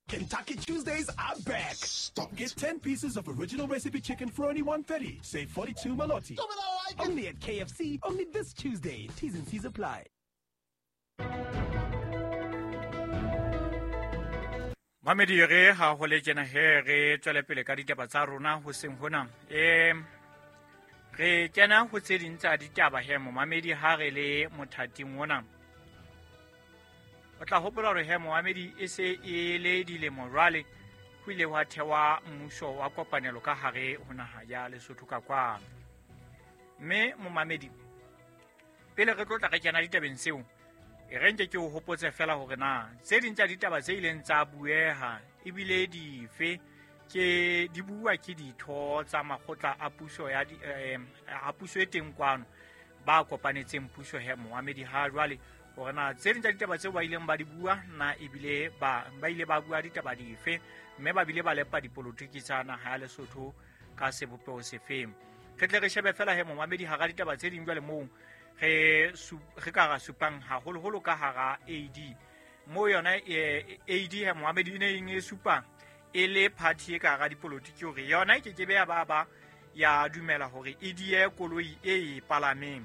Kentucky Tuesdays are back. Stop Get 10 pieces of original recipe chicken for only 130. Save 42 Maloti. Stop it, I like it. Only at KFC, only this Tuesday. T's and C's apply. Mamedi re ha ho le tjena he re tswele pele ka ditaba tsa rona ho seng hona. Re kena ho tse ding tsa ditaba he momamedi ha re le mothating ona. O tla hopola hore he momamedi e se e le dilemo jwale ho ile hwa thewa mmuso wa kopanelo ka hare ho naha ya Lesotho ka kwano. Mme momamedi pele re tlo tla re kena ditabeng tseo, e re nke ke o hopotse fela hore na tse ding tsa ditaba tse ileng tsa bueha ebile dife ke di bua ke ditho tsa makgotla a puso ya di, a puso e teng kwano ba kopanetseng puso he momamedi ha jwale hore na tse ding tsa ditaba tseo ba ileng ba di bua na ebile ba ile ba bua ditaba dife mme ba bile ba lepa dipolotiki tsa naha ya Lesotho ka sebopeho sefeng. Re tle re shebe fela he momamedi hara ditaba tse ding jwale moo re ka ra supang haholoholo ka hara AD mo yona AD he momamedi e ne eng e supang e le party e ka hara dipolotiki hore yona e kekebe ya ba ya dumela hore e die koloi e e palameng.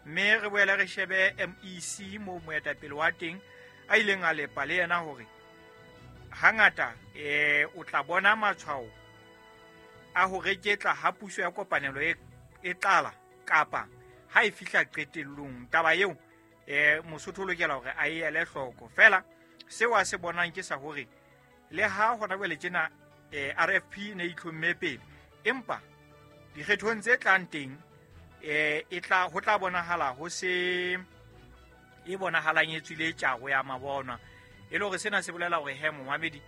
Mme re boele re shebe MEC mo moetapele wa teng a ileng a lepa le yena hore hangata o tla bona matshwao a ho reketla ha puso ya kopanelo e qala kapa ha e fihla qetellong. Taba eo Mosotho o lokela hore a e ele hloko. Fela seo a se bonang ke sa hore le ha hona jwale tjena RFP ne e itlhomme pele, empa dikgethong tse tlang teng e tla ho tla bonahala ho se e bonahalang e tswile tjaro ya mabonwa. E le hore sena se bolela hore he momamedi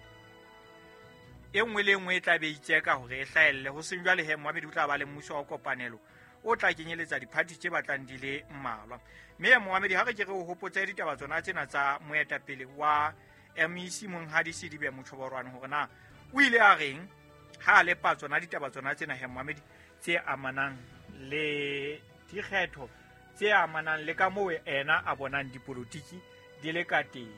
e nngwe le nngwe e tla be itseka hore e hlahelle. Ho seng jwale he momamedi o tla ba le mmuso wa kopanelo o tla kenyeletsa diphathi tse batlang di le mmalwa. Mme momamedi ha re ke re o hopotse ditaba tsona tsena tsa moetapele wa MEC Monghadi Sedibe Mochoborwane hore na o ile a reng ha a lepa tsona ditaba tsona tsena he momamedi tse amanang le dikgetho tse amanang le ka moo ena a bonang dipolotiki di le ka teng.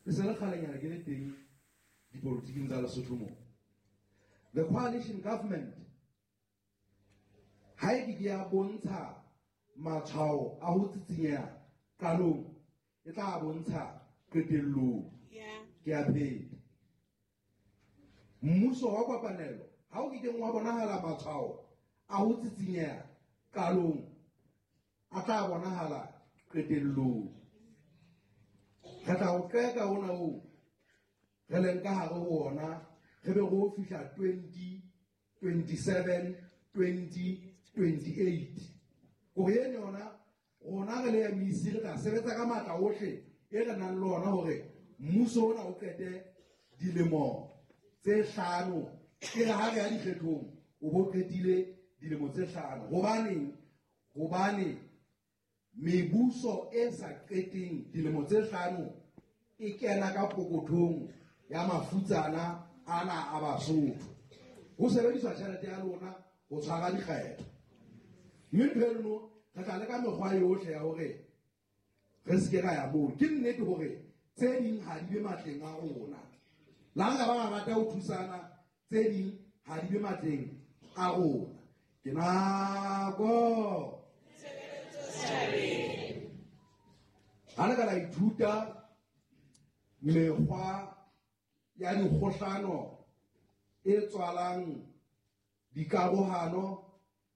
E se le kgalenyana ke le teng dipolotiking tsa Lesotho moo. The coalition government ha e ke ke ya bontsha matshwao a ho tsitsinyeha qalong, e tla bontsha qetellong. Ke a pheta. Mmuso wa kopanelo ha o kekeng wa bonahala matshwao a ho tsitsinyeha qalong, a tla bonahala qetellong. Re tla o qeka ona oo re leng ka hare ho ona, re be re o fihla 2027, 2028. Hore eno yona rona re le MEC re tla sebetsa ka matla ohle e re nang le ona hore mmuso ona o qete dilemo tse hlano. E re ha re ya dikgethong o bo qetile dilemo tse hlano. Hobaneng? Hobane mebuso e sa qeteng dilemo tse hlano e kena ka pokothong ya mafutsana ana a Basotho. Ho sebediswa tjhelete ya lona ho tshwara dikgetho. Mme ntho eno re tla leka mekgwa yohle ya hore re se ke ra ya moo. Ke nnete hore tse ding ha di be matleng a rona. Le ha nka ba rata ho thusana, tse ding ha di be matleng a rona. Ke nako. Ha le ka la ithuta mekgwa ya dikgohlano e tswalang dikarohano,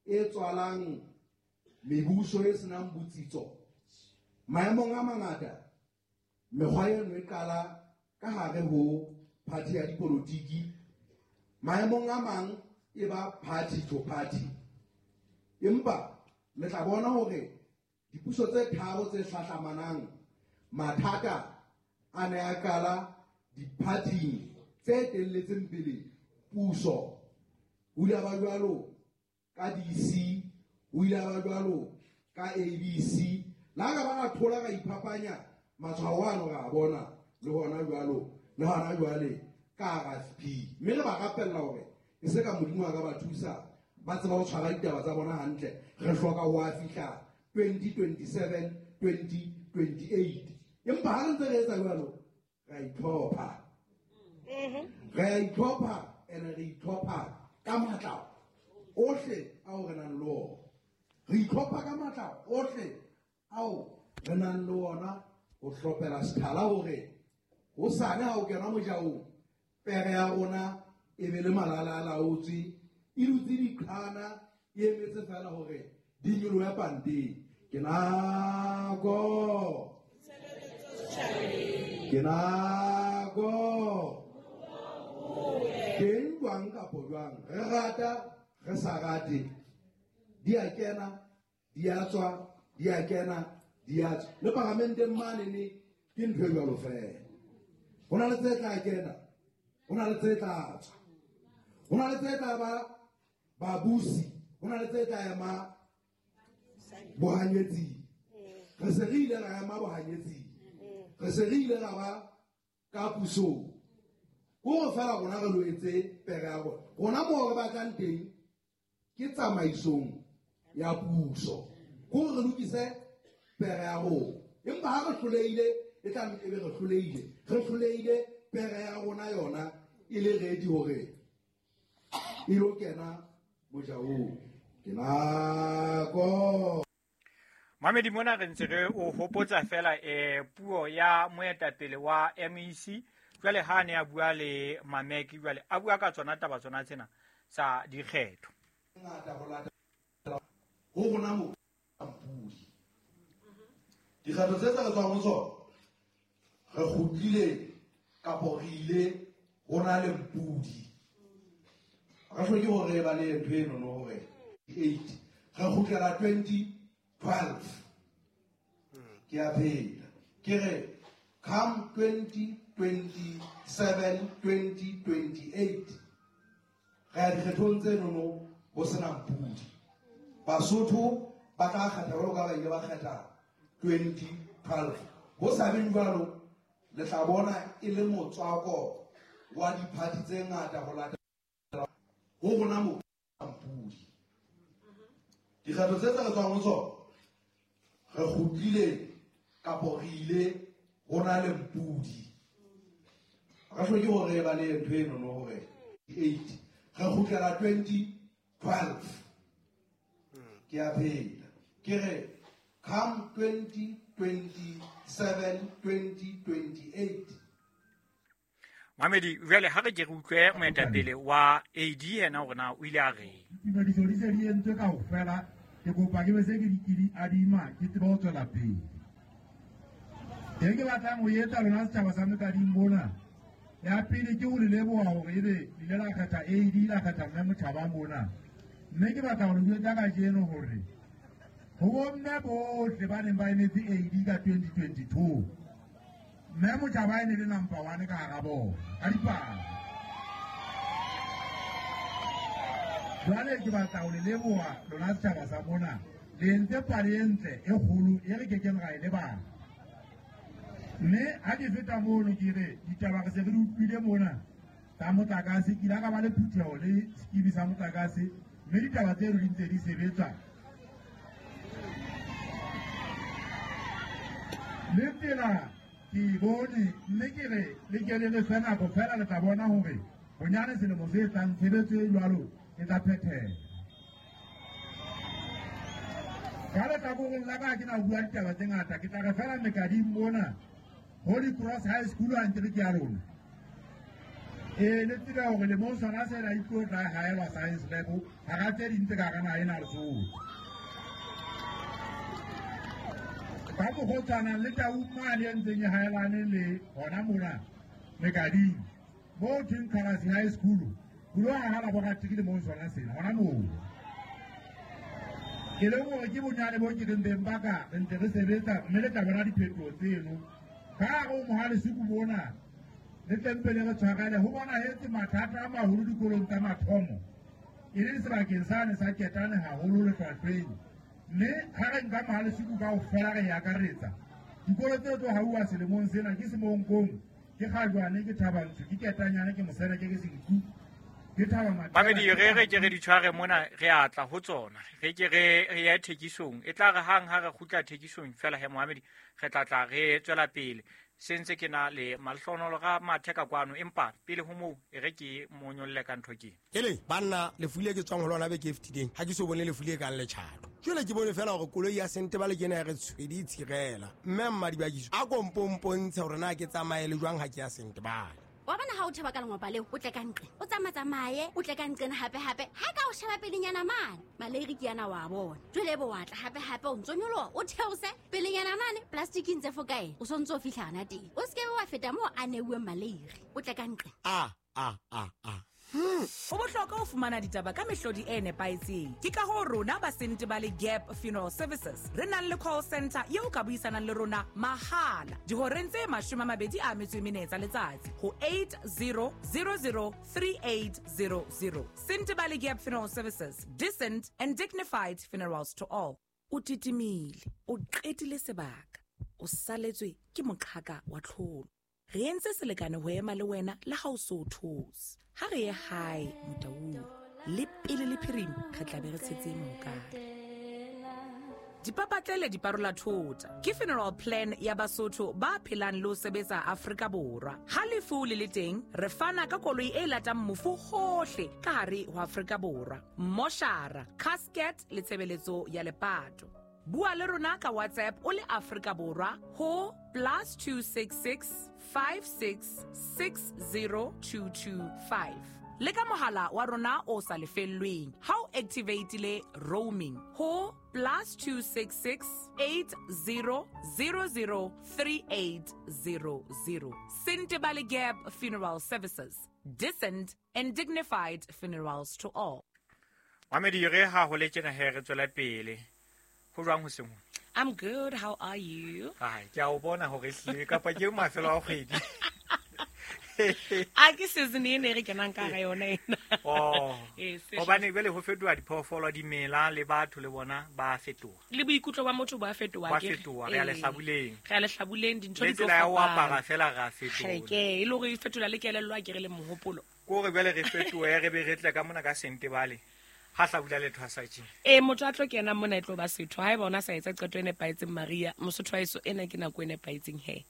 e tswalang mebuso e senang botsitso. Maemong a mangata mekgwa eno e qala ka hare ho party ya dipolotiki, maemong a mang e ba party to party. Empa le tla bona hore dipuso tse tharo tse hlahlamanang mathata a ne a qala diphathing tse telletseng pele puso. Ho ile ba jwalo ka DC, ho ile ba jwalo ka ABC. La ka ba thola ka iphapanya matshwao ano ra bona le hona jwalo le hona jwale ka RFP. Mme re ba rapella hore e se ka Modimo a ka ba thusa ba tseba ho tshwara ditaba tsa bona hantle. Re hloka ho a fihla 2027 2028. Empa ha re ntse re etsa jwalo, re a itlhopha. Re a itlhopha ene re itlhopha ka matla ohle ao re nang le ona. Re itlhopha ka matla ohle ao re nang le ona ho hlophela sethala hore hosane ha o kena mojaong, pere ya rona e be le malala a laotswe, e dutse diqhana, e emetse fela hore di nyolohe panteng. Ke nako. Ke nako. Teng jwang kapo jwang, re rata, re sa rate, di a kena, di a tswa, di a kena, di a tswa. Le paramenteng manene ke ntho e jwalo fela. Ho na le tse tla kena, ho na le tse tla tswa. Ho na le tse tla ba babusi, ho na le tse tla ema bohanyetsing. Re se re ile ra ema bohanyetsing. Re se re ile ra ba ka pusong. Hore fela rona re lo etse pere ya rona. Rona moo re batlang teng ke tsamaisong ya puso. Hore re lokise pere ya rona. Empa ha re hlolehile, e tla e be re hlolehile. Re hlolehile pere ya rona yona e le ready hore e lo kena mojaong. Ke nako. Mamedi mona re ntse re o hopotsa fela puo ya moetapele wa MEC. Jwale ha ne a bua le Mameki, jwale a bua ka tsona taba tsona tsena tsa dikgetho. Ngata ho latela ho rona mo mpudi. Dikgetho tse tse re tswang ho tsona, re kgutlile kapo re ile ho na le mpudi. Re hloke hore ba le ntho eno no hore 8 re kgutlela 2012. Ke a phela. Ke re come 2027 2028 re ya dikgethong tse nono ho sena mpudi. Basotho ba tla kgetha jwalo ka ba ile ba kgetha 2012. Ho sa beng jwalo, le tla bona e le motswako wa diphathi tse ngata ho latela ho rona mo mpudi. Dikgetho tse tse re tswang ho tsona, re kgutlile kapo re ile ho na le mpudi. Re hloke hore ba le ntho eno no hore 8 re kgutlela 2012. Ke a phela. Ke re come 2027 2028. Mamedi, jwale ha re ke re utlwe moetapele wa AD yena hore na o ile a reng. Ditumediso di se di entswe kaofela. Ke kopa ke be se ke di adima, ke tsebe ho tswela pele. E ke batlang ho etsa lona setjhaba sa Mekading mona. Ya pele ke ho le leboha hore ebe le ile la kgetha AD, la kgetha mme Motjhaba mona. Mme ke batla ho le jwetsa kajeno hore ho bomme bohle ba neng ba emetse AD ka 2022, mme Motjhaba e ne le number 1 ka hara bona ka dipalo. Jwale ke batla ho le leboha lona setjhaba sa mona. Le entse pale e ntle e kgolo e re kekeng ra e lebala. Mme ha ke feta mono ke re ditaba re se re di utlwile mona tsa motlakase, ke ile ka ba le phutheho le sekibi sa motlakase, mme ditaba tseno di ntse di sebetsa. Le tsela ke e bone, mme ke re le ke le re fe nako fela le tla bona hore bonyane selemo se tlang tshebetso e jwalo e tla phethela. Ka lehlakoreng la ka ha ke na bua ditaba tse ngata, ke tla re fela Mekading mona Holy Cross High School a nkere ke ya rona. Le tsebe hore lemong sona sena e tlo tla haelwa science lab hara tse ding tse ka hara naha ena Lesotho. Ka mokgwa o tshwanang le Taung mane e ntseng e haelane le hona mona Mekading, moo thweng Khalasi High School, ho lo haha laboratory lemong sona sena hona moo. Ke leng hore ke bonyane bo ke reng beng ba ka re ntse re sebetsa, mme le tla bona diphetoho tseno. Ka hare ho Mohalesuku mona, le tlempele re tshwarele, ho bonahetse mathata a maholo dikolong tsa mathomo, e leng sebakeng sane sa Ketane haholo lehlwahlweng. Mme ha re nka Mohalesuku kaofela re e akaretsa, dikolo tse tlo hauwa selemong sena ke Semonkong, ke Kgajwane, ke Thabantsho, ke Ketanyane, ke Moseneke, ke Senku, Ke Thaba Matheba. Mamedi re ke re di tshware mona re atla ho tsona. Re ke re ye thekisong. E tla re hang ha re kgutla thekisong fela he Mohamedi re tla tla re tswela pele. Sentse ke na le Mahlonolo ga Matheka kwano empa pele ho moo e re ke monyolle ka ntho ke. Ele banna lefu le ke tswang ho lona beke e fetileng ha ke so bone lefu le kang letjhato. Jwale ke bone fela hore koloi ya Sentebale ke ena ya re tshwedi e tshirela. Mme Mmadibakiso a ko mpompontshe hore na ke tsamaye le jwang ha ke ya Sentebale. Wa bona ha o theba ka lengwapa leo, o tle ka nqe. O tsamatsamaye, o tle ka nqena hape-hape. Ha ka o sheba pelenyana mane, maleiri ke yana wa bona. Jwale ebe wa tla hape-hape o ntso nyoloha, o theose pelenyana mane, plastic ntse fo kae? O sontso o fihla hana teng. O se ke wa feta moo a neuweng maleiri. O tle ka nqe. A a a a. Ho bohlokwa ho fumana ditaba ka mehlodi e nepahetseng. Ke ka hoo rona ba Sentebale Gap Funeral Services re nang le call center eo ka buisanang le rona mahala dihoreng tse 24 tsa letsatsi ho 80003800. Sentebale Gap Funeral Services, decent and dignified funerals to all. O titimile, o qetile sebaka, o saletswe ke moqhaka wa tlholo. Re entse selekane ho ema le wena le ha o so those. Ha re ye hae Motaung, le pele le phirima re tla be re tshetse mohokare. Dipapatlele di parola thota ke funeral plan ya Basotho ba phelang le ho sebetsa Afrika Borwa. Ha lefu le le teng, re fana ka koloi e latang mofu hohle ka hare ho Afrika Borwa. Moshara, casket le tshebeletso ya lepato. Bua le rona ka WhatsApp o le Afrika Borwa ho +266 56 60225. Le ka mohala wa rona o sa lefellweng ha o activateile roaming ho +266 80 00 3800. Sentebale Gap Funeral Services, decent and dignified funerals to all. Mamedi re ha ho le tjena he re tswela pele. Ho jwang ho seng? I'm good. How are you? Ai, ke a o bona hore ehlile kapa ke mafelo a kgwedi. A ke season ena e re kenang ka hara yona ena. Oh. Eh, Hobane jwale ho fetoha diphoofolo, dimela le batho le bona ba fetoha. Le boikutlo ba motho ba fetoha Ba ke re. fetoha, re a lehlabuleng. Re a lehlabuleng, dintho Le di tlo tsela ya ho fapana. apara fela re a fetola. Ke, e le hore e fetola le kelello a ke re le mohopolo. Ke hore jwale re fetohe re be re tle ka mona ka Sentebale. Ha hlabula le thwasa tje. Motho a tlo kena mona e tlo ba setho. Haeba ona sa etsa qeto e nepahetseng Maria, Mosotho wa heso ena ke nako e nepahetseng he.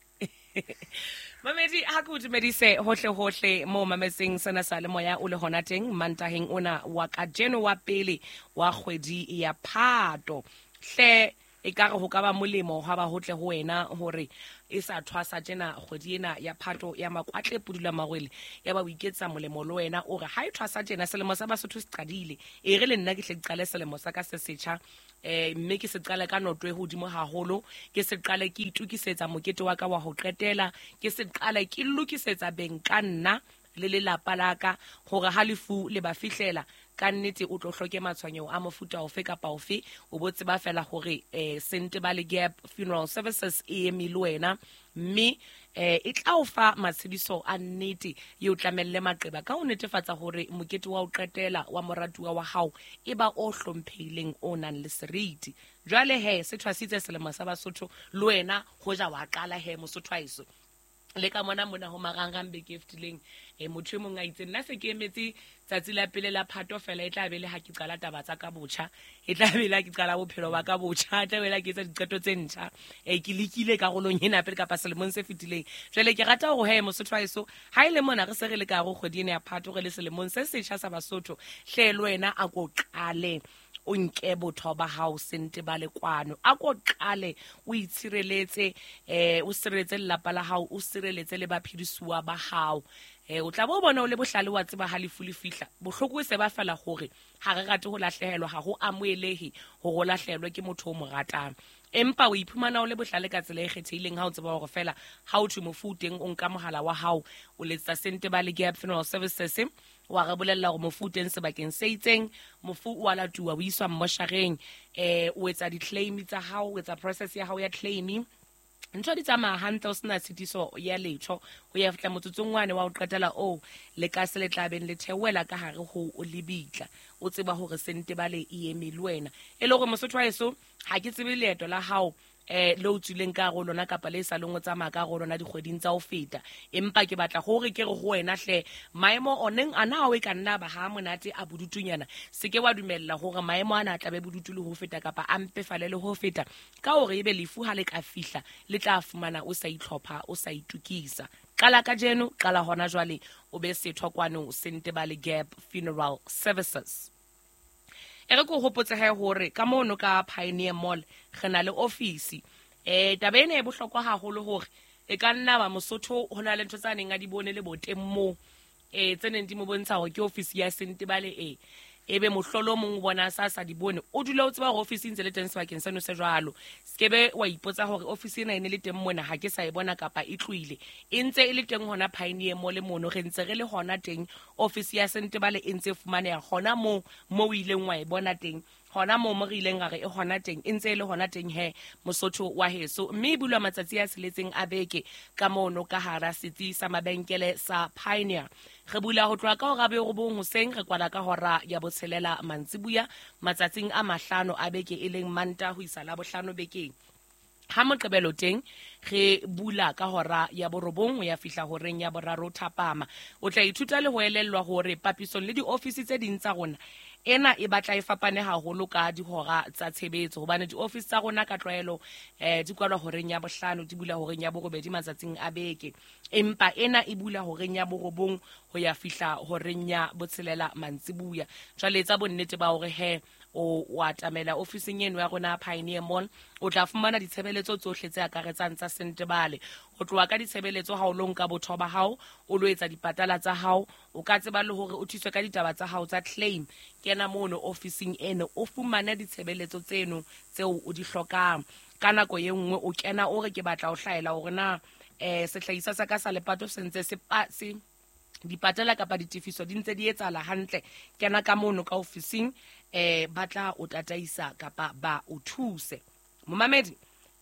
Mamedi, ha ke o dumedise hohle hohle moo mametseng sena sa le moya o le hona teng Mantaheng ona wa kajeno wa pele wa kgwedi ya Phato. Hle ekare ho ka ba molemo ha ba hotle ho wena hore e sa thwasa tjena kgwedi ena ya Phato ya makwatle pudula marwele ya ba o iketsa molemo le wena o re ha e thwasa tjena selemo sa Basotho se qadile e re le nna ke hle ke qale selemo sa ka se setjha mme ke se qale ka noto e hodimo haholo, ke se qale ke itukisetsa mokete wa ka wa ho qetela, ke se qale ke lokisetsa beng ka nna le lelapa la ka hore ha lefu le ba fihlela ka nnete o tlo hloke matshwenyeho a mofuta ofe kapa ofe. O bo tseba fela hore Sentebale Gap Funeral Services e eme le wena mme e tla o fa matshediso a nnete e o tlamelle maqeba ka ho netefatsa hore mokete wa ho qetela wa moratuwa wa hao e ba o hlomphehileng o nang le seriti. Jwale he se thwasitse selemo sa Basotho le wena hoja wa qala he Mosotho wa heso. Le ka mona mona ho marangrang beke e fetileng, motho e mong a itse nna se ke emetse tsatsi la pele la Phato fela e tla be le ha ke qala taba tsa ka botjha, e tla be le ha ke qala bophelo ba ka botjha, e tla be le ha ke etsa diqeto tse ntjha. Ke lekile karolong ena pele kapa selemong se fetileng. Jwale ke rata hore he Mosotho wa heso, ha e le mona re se re le ka hare ho kgwedi ena ya Phato, re le selemong se setjha sa Basotho, hle le wena a ko qale o nke botho ba hao Sentebale kwano, a ko qale o itshireletse, o sireletse lelapa la hao, o sireletse le baphedisuwa ba hao. O tla bo bona o le bohlale wa tseba ha lefu le fihla. Bohloko e se ba fela hore ha re rate ho lahlehelwa, ha ho amohelehe hore o lahlehelwe ke motho o mo ratang. Empa o iphumana o le bohlale ka tsela e kgethehileng ha o tseba hore fela ha o thwe mofu o teng, o nka mohala wa hao, o letsetsa Sentebale Gap Funeral Services, wa re bolella hore mofu o teng sebakeng se itseng, mofu o a latuwa, o iswa mmoshareng, o etsa di-claim tsa hao, o etsa process ya hao ya claim. Ntho di tsamaya hantle, o sena tshitiso ya letho ho ya fihla motsotsong wane wa ho qetela oo le ka se le tla beng le theohela ka hare ho lebitla, o tseba hore Sentebale e eme le wena. E le hore Mosotho wa heso, ha ke tsebe leeto la hao le o tswileng ka hare ho lona kapa le sa leng o tsamaya ka hare ho lona dikgweding tsa ho feta. Empa ke batla hore ke re ho wena hle, maemo oneng ana ao e ka nna ba ha monate a bodutunyana, se ke wa dumella hore maemo ana a tlabe bodutu le ho feta kapa a mpefale le ho feta, ka hore ebe lefu ha le ka fihla le tla fumana o sa itlhopha, o sa itukisa. Qala kajeno, qala hona jwale, o be setho kwano Sentebale Gap Funeral Services. E re ke o hopotse he hore ka mono ka Pioneer Mall re na le ofisi. Taba ena e bohlokwa haholo hore e ka nna ba Mosotho ho na le ntho tsa neng a di bone le boteng moo, tse neng di mo bontsha hore ke ofisi ya Sentebale ebe mohlolo o mong o bona sa sa di bone, o dula o tseba hore ofisi e ntse le teng sebakeng seno se jwalo. Sekebe wa ipotsa hore ofisi ena e ne le teng mona, ha ke sa e bona kapa e tlohile. E ntse e le teng hona Pioneer Mall mono, re ntse re le hona teng. Ofisi ya Sentebale e ntse e fumaneha hona moo mo o ileng wa e bona teng, hona moo mo re ileng ra re e hona teng, e ntse e le hona teng he Mosotho wa heso. Mme e bulwa matsatsi a tsheletseng a beke ka mono ka hara setsi sa mabenkele sa Pioneer. Re bula ho tloha ka hora ya 9 hoseng, re kwala ka hora ya 6 mantsibuya matsatsing a 5 a beke, e leng Manta ho isa Labohlano bekeng. Ha Moqebelo teng re bula ka hora ya 9 ho ya fihla horeng ya 3 thapama. O tla ithuta le ho elellwa hore papisong le diofisi tse ding tsa rona, ena e batla e fapane haholo ka dihora tsa tshebetso, hobane diofisi tsa rona ka tlwaelo di kwalwa horeng ya 5, di bula horeng ya 8 matsatsing a beke, empa ena e bula horeng ya 9 ho ya fihla horeng ya 6 mantsibuya. Jwale etsa bonnete ba hore he o atamela ofising eno ya rona Pioneer Mall, o tla fumana ditshebeletso tsohle tse akaretsang tsa Sentebale. Ho tloha ka ditshebeletso ha o lo nka botho ba hao, o lo etsa dipatala tsa hao, o ka tseba le hore o thuswe ka ditaba tsa hao tsa claim. Kena mono ofising eno, o fumane ditshebeletso tseno tseo o di hlokang. Ka nako e nngwe o kena o re ke batla ho hlaela hore na sehlahiswa sa ka sa lepato se ntse se dipatala kapa ditefiso di ntse di etsahala hantle. Kena ka mono ka ofising, ba tla o tataisa kapa ba o thuse. Momamedi,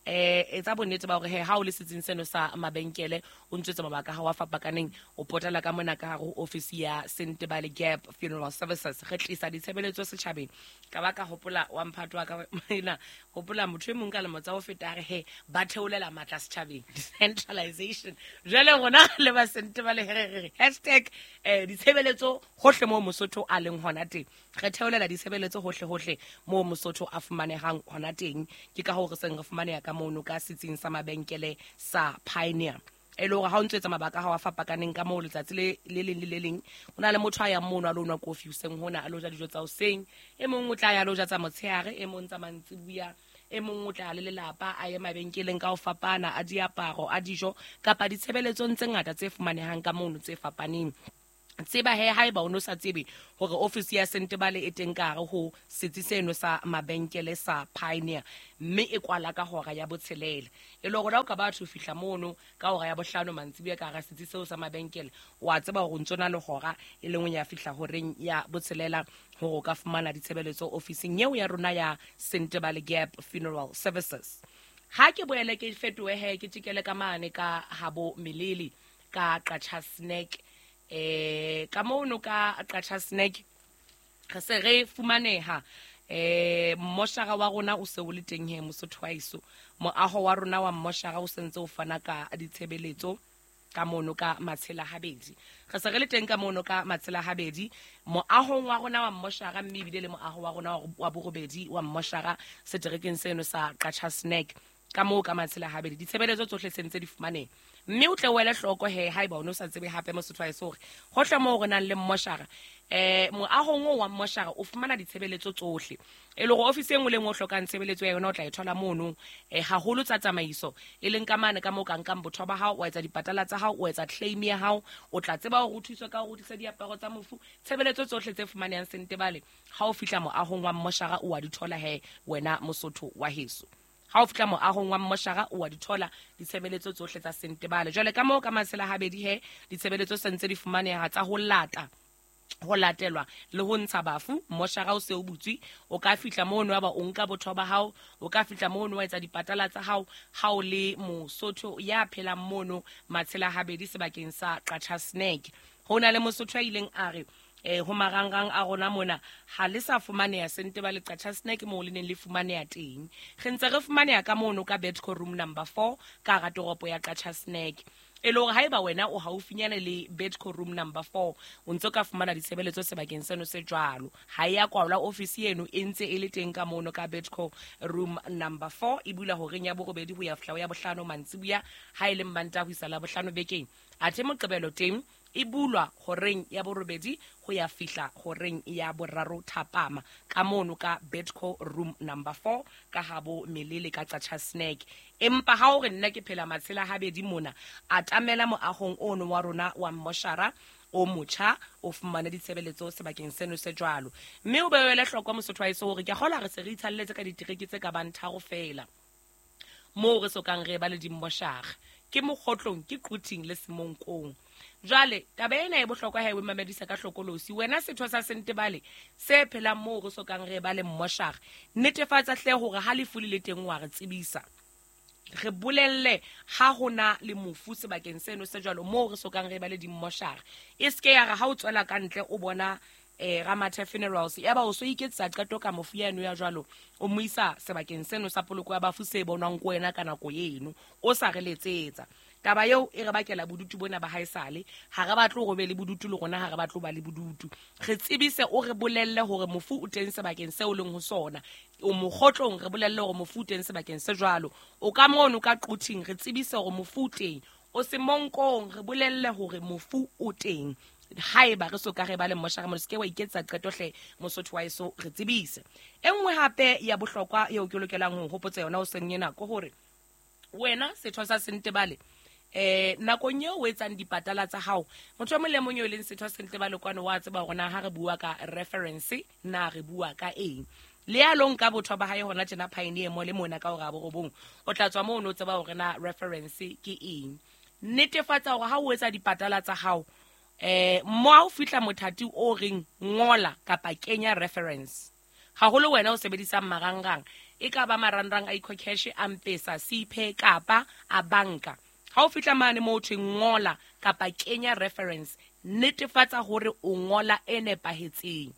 etsa bonnete ba hore he ha o le setsing seno sa mabenkele, o ntse mabaka ha wa fapakaneng, o potela ka mona ka hare ho ofisi ya Sentebale Gap Funeral Services. Re tlisa ditshebeletso setjhabeng. Ka ba ka hopola wa mphato wa ka ena, hopola motho e mong ka lemo tsa ho feta a re he ba theolela matla setjhabeng, decentralization. Jwale rona le ba Sentebale re hashtag ditshebeletso hohle moo Mosotho a leng hona teng. Re theolela ditshebeletso hohle hohle moo Mosotho a fumanehang hona teng. Ke ka hoo re seng re fumaneha ka mono ka setsing sa mabenkele sa Pioneer. E le hore ha o ntse etsa mabaka ha wa fapakaneng ka moo letsatsi le leng le le leng, ho na le motho a yang mono a lo nwa kofi hoseng hona, a lo ja dijo tsa hoseng, e mong o tla ya lo ja tsa motshehare, e mong tsa mantsibuya, e mong o tla le lelapa a ye mabenkeleng ka ho fapana, a diaparo, a dijo kapa ditshebeletsong tse ngata tse fumanehang ka mono tse fapaneng. Tseba he haeba o no sa tsebe hore ofisi ya Sentebale e teng ka hare ho setsi seno sa mabenkele sa Pioneer, mme e kwala ka hora ya 6. E le hore o ka batho fihla mono ka hora ya 5 mantsibuya ka hara setsi seo sa mabenkele, o a tseba hore o ntso na le hora e lengwe ya fihla horeng ya 6 hore o ka fumana ditshebeletso ofising eo ya rona ya Sentebale Gap Funeral Services. Ha ke boele ke fetohe he ke tjekele ka mane ka habo Melele ka Qacha Snack. Ka mono ka Qacha Snack re se re fumaneha mmoshara wa rona o se o le teng he Mosotho wa heso. Moaho wa rona wa mmoshara o sentse o fana ka ditshebeletso ka mono ka Matshela Habedi. Re se re le teng ka mono ka Matshela Habedi moahong wa rona wa mmoshara, mme ebile le moaho wa rona wa borobedi wa mmoshara seterekeng seno sa Qacha Snack ka moo ka Matshela Habedi. Ditshebeletso tsohle se ntse di fumaneha. Mme o tle o ele hloko he haeba o no sa tsebe hape Mosotho wa heso hore hohle moo re nang le mmoshara, moahong oo wa mmoshara o fumana ditshebeletso tsohle. E le hore ofisi e nngwe le nngwe o hlokang tshebeletso ya yona o tla e thola mono, haholo tsa tsamaiso, e leng ka mane ka moo ka nkang botho ba hao, wa etsa dipatala tsa hao, o etsa claim ya hao, o tla tseba hore o thuswe ka hore o tlise diaparo tsa mofu. Tshebeletso tsohle tse fumanehang Sentebale ha o fihla moahong wa mmoshara o wa di thola he wena Mosotho wa heso. Ha o fihla moahong wa mmoshara o wa di thola ditshebeletso tsohle tsa Sentebale. Jwale ka moo ka Matshela Habedi he ditshebeletso se ntse di fumaneha tsa ho lata, ho latelwa le ho ntsha bafu. Mmoshara o se o butswe, o ka fihla mono wa ba o nka botho ba hao, o ka fihla mono wa etsa dipatala tsa hao ha o le Mosotho ya phelang mono Matshela Habedi sebakeng sa Qacha Snack. Ho na le Mosotho a ileng a re Ho marangrang a rona mona ha le sa fumaneha Sentebale Qacha's Nek moo le neng le fumaneha teng. Re ntse re fumaneha ka mono ka Bedco room number 4 ka hara toropo ya Qacha's Nek. E le hore haeba wena o haufinyane le Bedco room number 4 o ntso ka fumana ditshebeletso sebakeng seno se jwalo. Ha e ya kwalwa ofisi eno e ntse e le teng ka mono ka Bedco room number 4, e bula horeng ya 8 ho ya fihla ho ya 5 mantsibuya, ha e le Mmantaha ho isa Labohlano bekeng. Athe Moqebelo teng e bulwa horeng ya 8 ho ya fihla horeng ya 3 thapama ka mono ka Bedco room number 4 ka habo Melele ka Qacha's Nek. Empa ha o re nna ke phela matshela habedi mona, atamela moahong ono wa rona wa mmoshara o motjha, o fumane ditshebeletso sebakeng seno se jwalo. Mme o bewele hloko Mosotho wa heso hore ke a kgolwa re se re itshalletse ka ditereke tse ka bang 3 feela moo re sokang re ba le dimmoshara, ke Mokgotlong, ke Quthing le Semonkong. Jwale taba ena e bohlokwa ha e o mamedisa ka hlokolosi. Wena setho sa Sentebale se phelang moo re sokang re ba le mmoshara, netefatsa hle hore ha lefu le le teng wa re tsebisa. Re bolelle ha hona le mofu sebakeng seno se jwalo moo re sokang re ba le dimmoshara. E seke ya re ha o tswela ka ntle o bona Ramathe Funerals, ya ba o so iketsa qeto ka mofu yeno ya jwalo, o mo isa sebakeng seno sa poloko ya bafu se bonwang ko wena ka nako eno, o sa re letsetsa. Taba eo e re bakela bodutu bona ba haesale. Ha re batle hore be le bodutu le rona, ha re batle ho ba le bodutu. Re tsebise, o re bolelle hore mofu o teng sebakeng seo o leng ho sona. O Mokgotlong, re bolelle hore mofu o teng sebakeng se jwalo. O ka mono ka Quthing, re tsebise hore mofu o teng. O Semonkong, re bolelle hore mofu o teng. Haeba re so ka re ba le mmoshara mo, se ke wa iketsa qeto hle Mosotho wa heso, re tsebise. E nngwe hape ya bohlokwa eo ke lokelang ho hopotsa yona hoseng ena ke hore wena setho sa Sentebale, nakong eo o etsang dipatala tsa hao, motho e mong le mong eo e leng setho sa Sentebale kwano wa tseba hore na ha re bua ka reference na re bua ka eng. Le ya lo nka botho ba hae hona tjena Pioneer Mall mona ka hora ya 9, o tla tswa moo o no tseba hore na reference ke eng. Netefatsa hore ha o etsa dipatala tsa hao, mo ha o fihla mothati o reng ngola kapa kenya reference, haholo wena o sebedisang marangrang, e ka ba marangrang a EcoCash, a M-Pesa, Cpay kapa a banka. Ha o fihla mane moo ho thweng ngola kapa kenya reference, netefatsa hore o ngola e nepahetseng.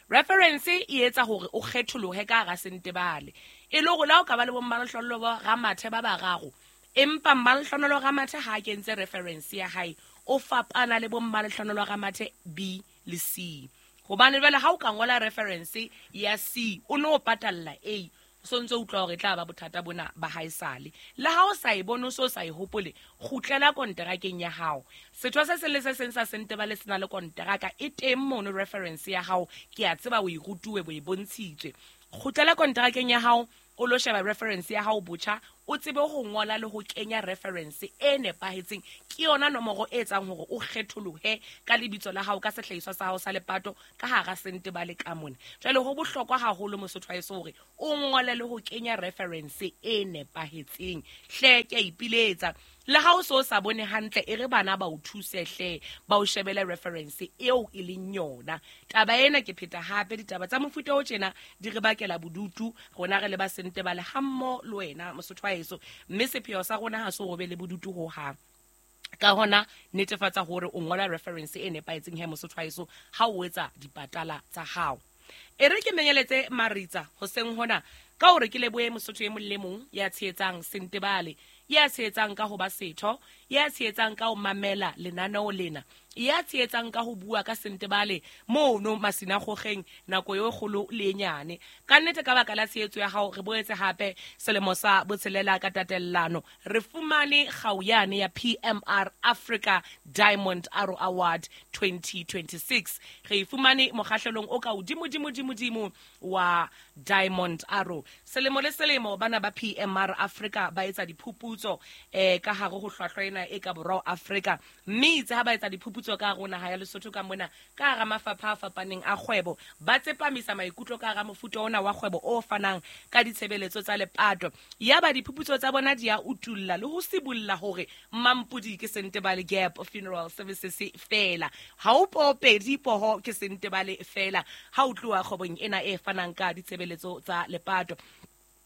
Reference e etsa hore o kgetholohe ka hara Sentebale. E le hore la o ka ba le bommalehlonolo ba Ramathe ba bararo, empa mmalehlonolo Ramathe ha a kentse reference ya hae, o fapana le bommalehlonolo Ramathe B le C. Hobane jwale ha o ka ngola reference ya C, o no patalla A, o sontso utlwa hore e tla ba bothata bona ba haesale. Le ha o sa e bone, o so sa e hopole, kgutlela konterakeng ya hao. Setho se seng le se seng sa Sentebale se na le konteraka e teng mono reference ya hao, ke a tseba o e rutuwe, bo e bontshitswe. Kgutlela konterakeng ya hao, o lo sheba reference ya hao botjha, o tsebe ho ngola le ho kenya reference e nepahetseng. Ke yona nomoro e etsang hore o kgetholohe ka lebitso la hao, ka sehlahiswa sa hao sa lepato ka hara Sentebale ka mona. Jwale ho bohlokwa haholo Mosotho wa heso hore o ngole le ho kenya reference e nepahetseng. Hle ke a ipiletsa, le ha o so sa bone hantle, e re bana ba o thuse hle, ba o shebele reference eo e leng yona. Taba ena ke pheta hape, ditaba tsa mofuta o tjena di re bakela bodutu rona re le ba Sentebale hammoho le wena Mosotho wa heso, mme sepheo sa rona ha se ho be le bodutu hohang. Ka hona netefatsa hore o ngola reference e nepahetseng he Mosotho wa heso ha o etsa dipatala tsa hao. E re ke menyeletse Maritsa hoseng hona ka hore ke lebohe Mosotho e mong le mong ya tshehetsang Sentebale, ya tshehetsang ka ho ba setho, ya tshehetsang ka ho mamela lenaneo lena, ya tshehetsang ka ho bua ka Sentebale mono masinagogeng nako e kgolo le e nyane. Ka nnete ka baka la tshehetso ya hao re boetse hape selemo sa botshelela ka tatellano re fumane kgau yane ya PMR Africa Diamond Arrow Award 2026. Re e fumane mokgahlelong o ka hodimo dimo dimo dimo wa Diamond Arrow. Selemo le selemo bana ba PMR Africa ba etsa diphuputso ka hare ho hlwahlwa ena e ka borwa Afrika, mme itse ha ba etsa diphuputso ka hare ho naha ya Lesotho ka mona ka hara mafapha a fapaneng a kgwebo, ba tsepamisa maikutlo ka hara mofuta ona wa kgwebo o fanang ka ditshebeletso tsa lepato. Yaba diphuputso tsa bona di a utulla le ho sibolla hore Mampudi ke Sentebale Gap Funeral Services fela, ha o popedi poho ke Sentebale fela ha o tloha kgwebong ena e fanang ka ditshebeletso tsa lepato.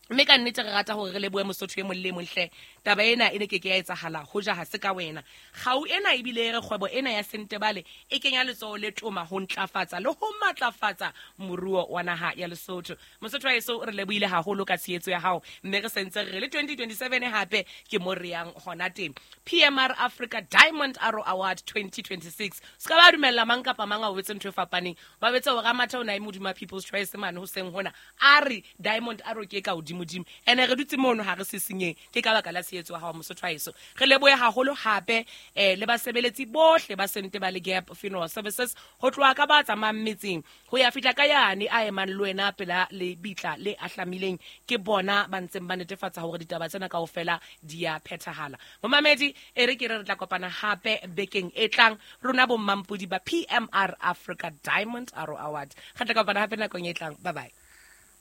Mme ka nnete re rata hore re lebohe Mosotho e mong le e mong hle. Taba ena e ne ke ke ya etsahala hoja ha se ka wena. Kgau ena ebile e re kgwebo ena ya Sentebale e kenya letsoho le toma ho ntlafatsa le ho matlafatsa moruo wa naha ya Lesotho. Mosotho wa heso, re lebohile haholo ka tshehetso ya hao, mme re sentse re re le 2027 hape ke mo re yang hona teng. PMR Africa Diamond Arrow Award 2026. Se ka ba dumella mang kapa mang a o betse ntho e fapaneng. Ba betse hore Ramatha o na e modimo wa People's Choice mane hoseng hona. A re Diamond Arrow ke e ka hodimodimo. Ene re dutse mono ha re sisinyehe. Ke ka baka la tshehetso ya hao Mosotho wa heso. Re lebohe haholo hape le basebeletsi bohle ba Sentebale Gap Funeral Services, ho tloha ka ba tsamayang metseng ho ya fihla ka yane a emang le wena pela lebitla le ahlamileng. Ke bona ba ntseng ba netefatsa hore ditaba tsena kaofela di ya phethahala. Momamedi, e re ke re re tla kopana hape bekeng e tlang, rona bo mmampodi ba PMR Africa Diamond Arrow Award. Re tla kopana hape nakong e tlang. Bye bye.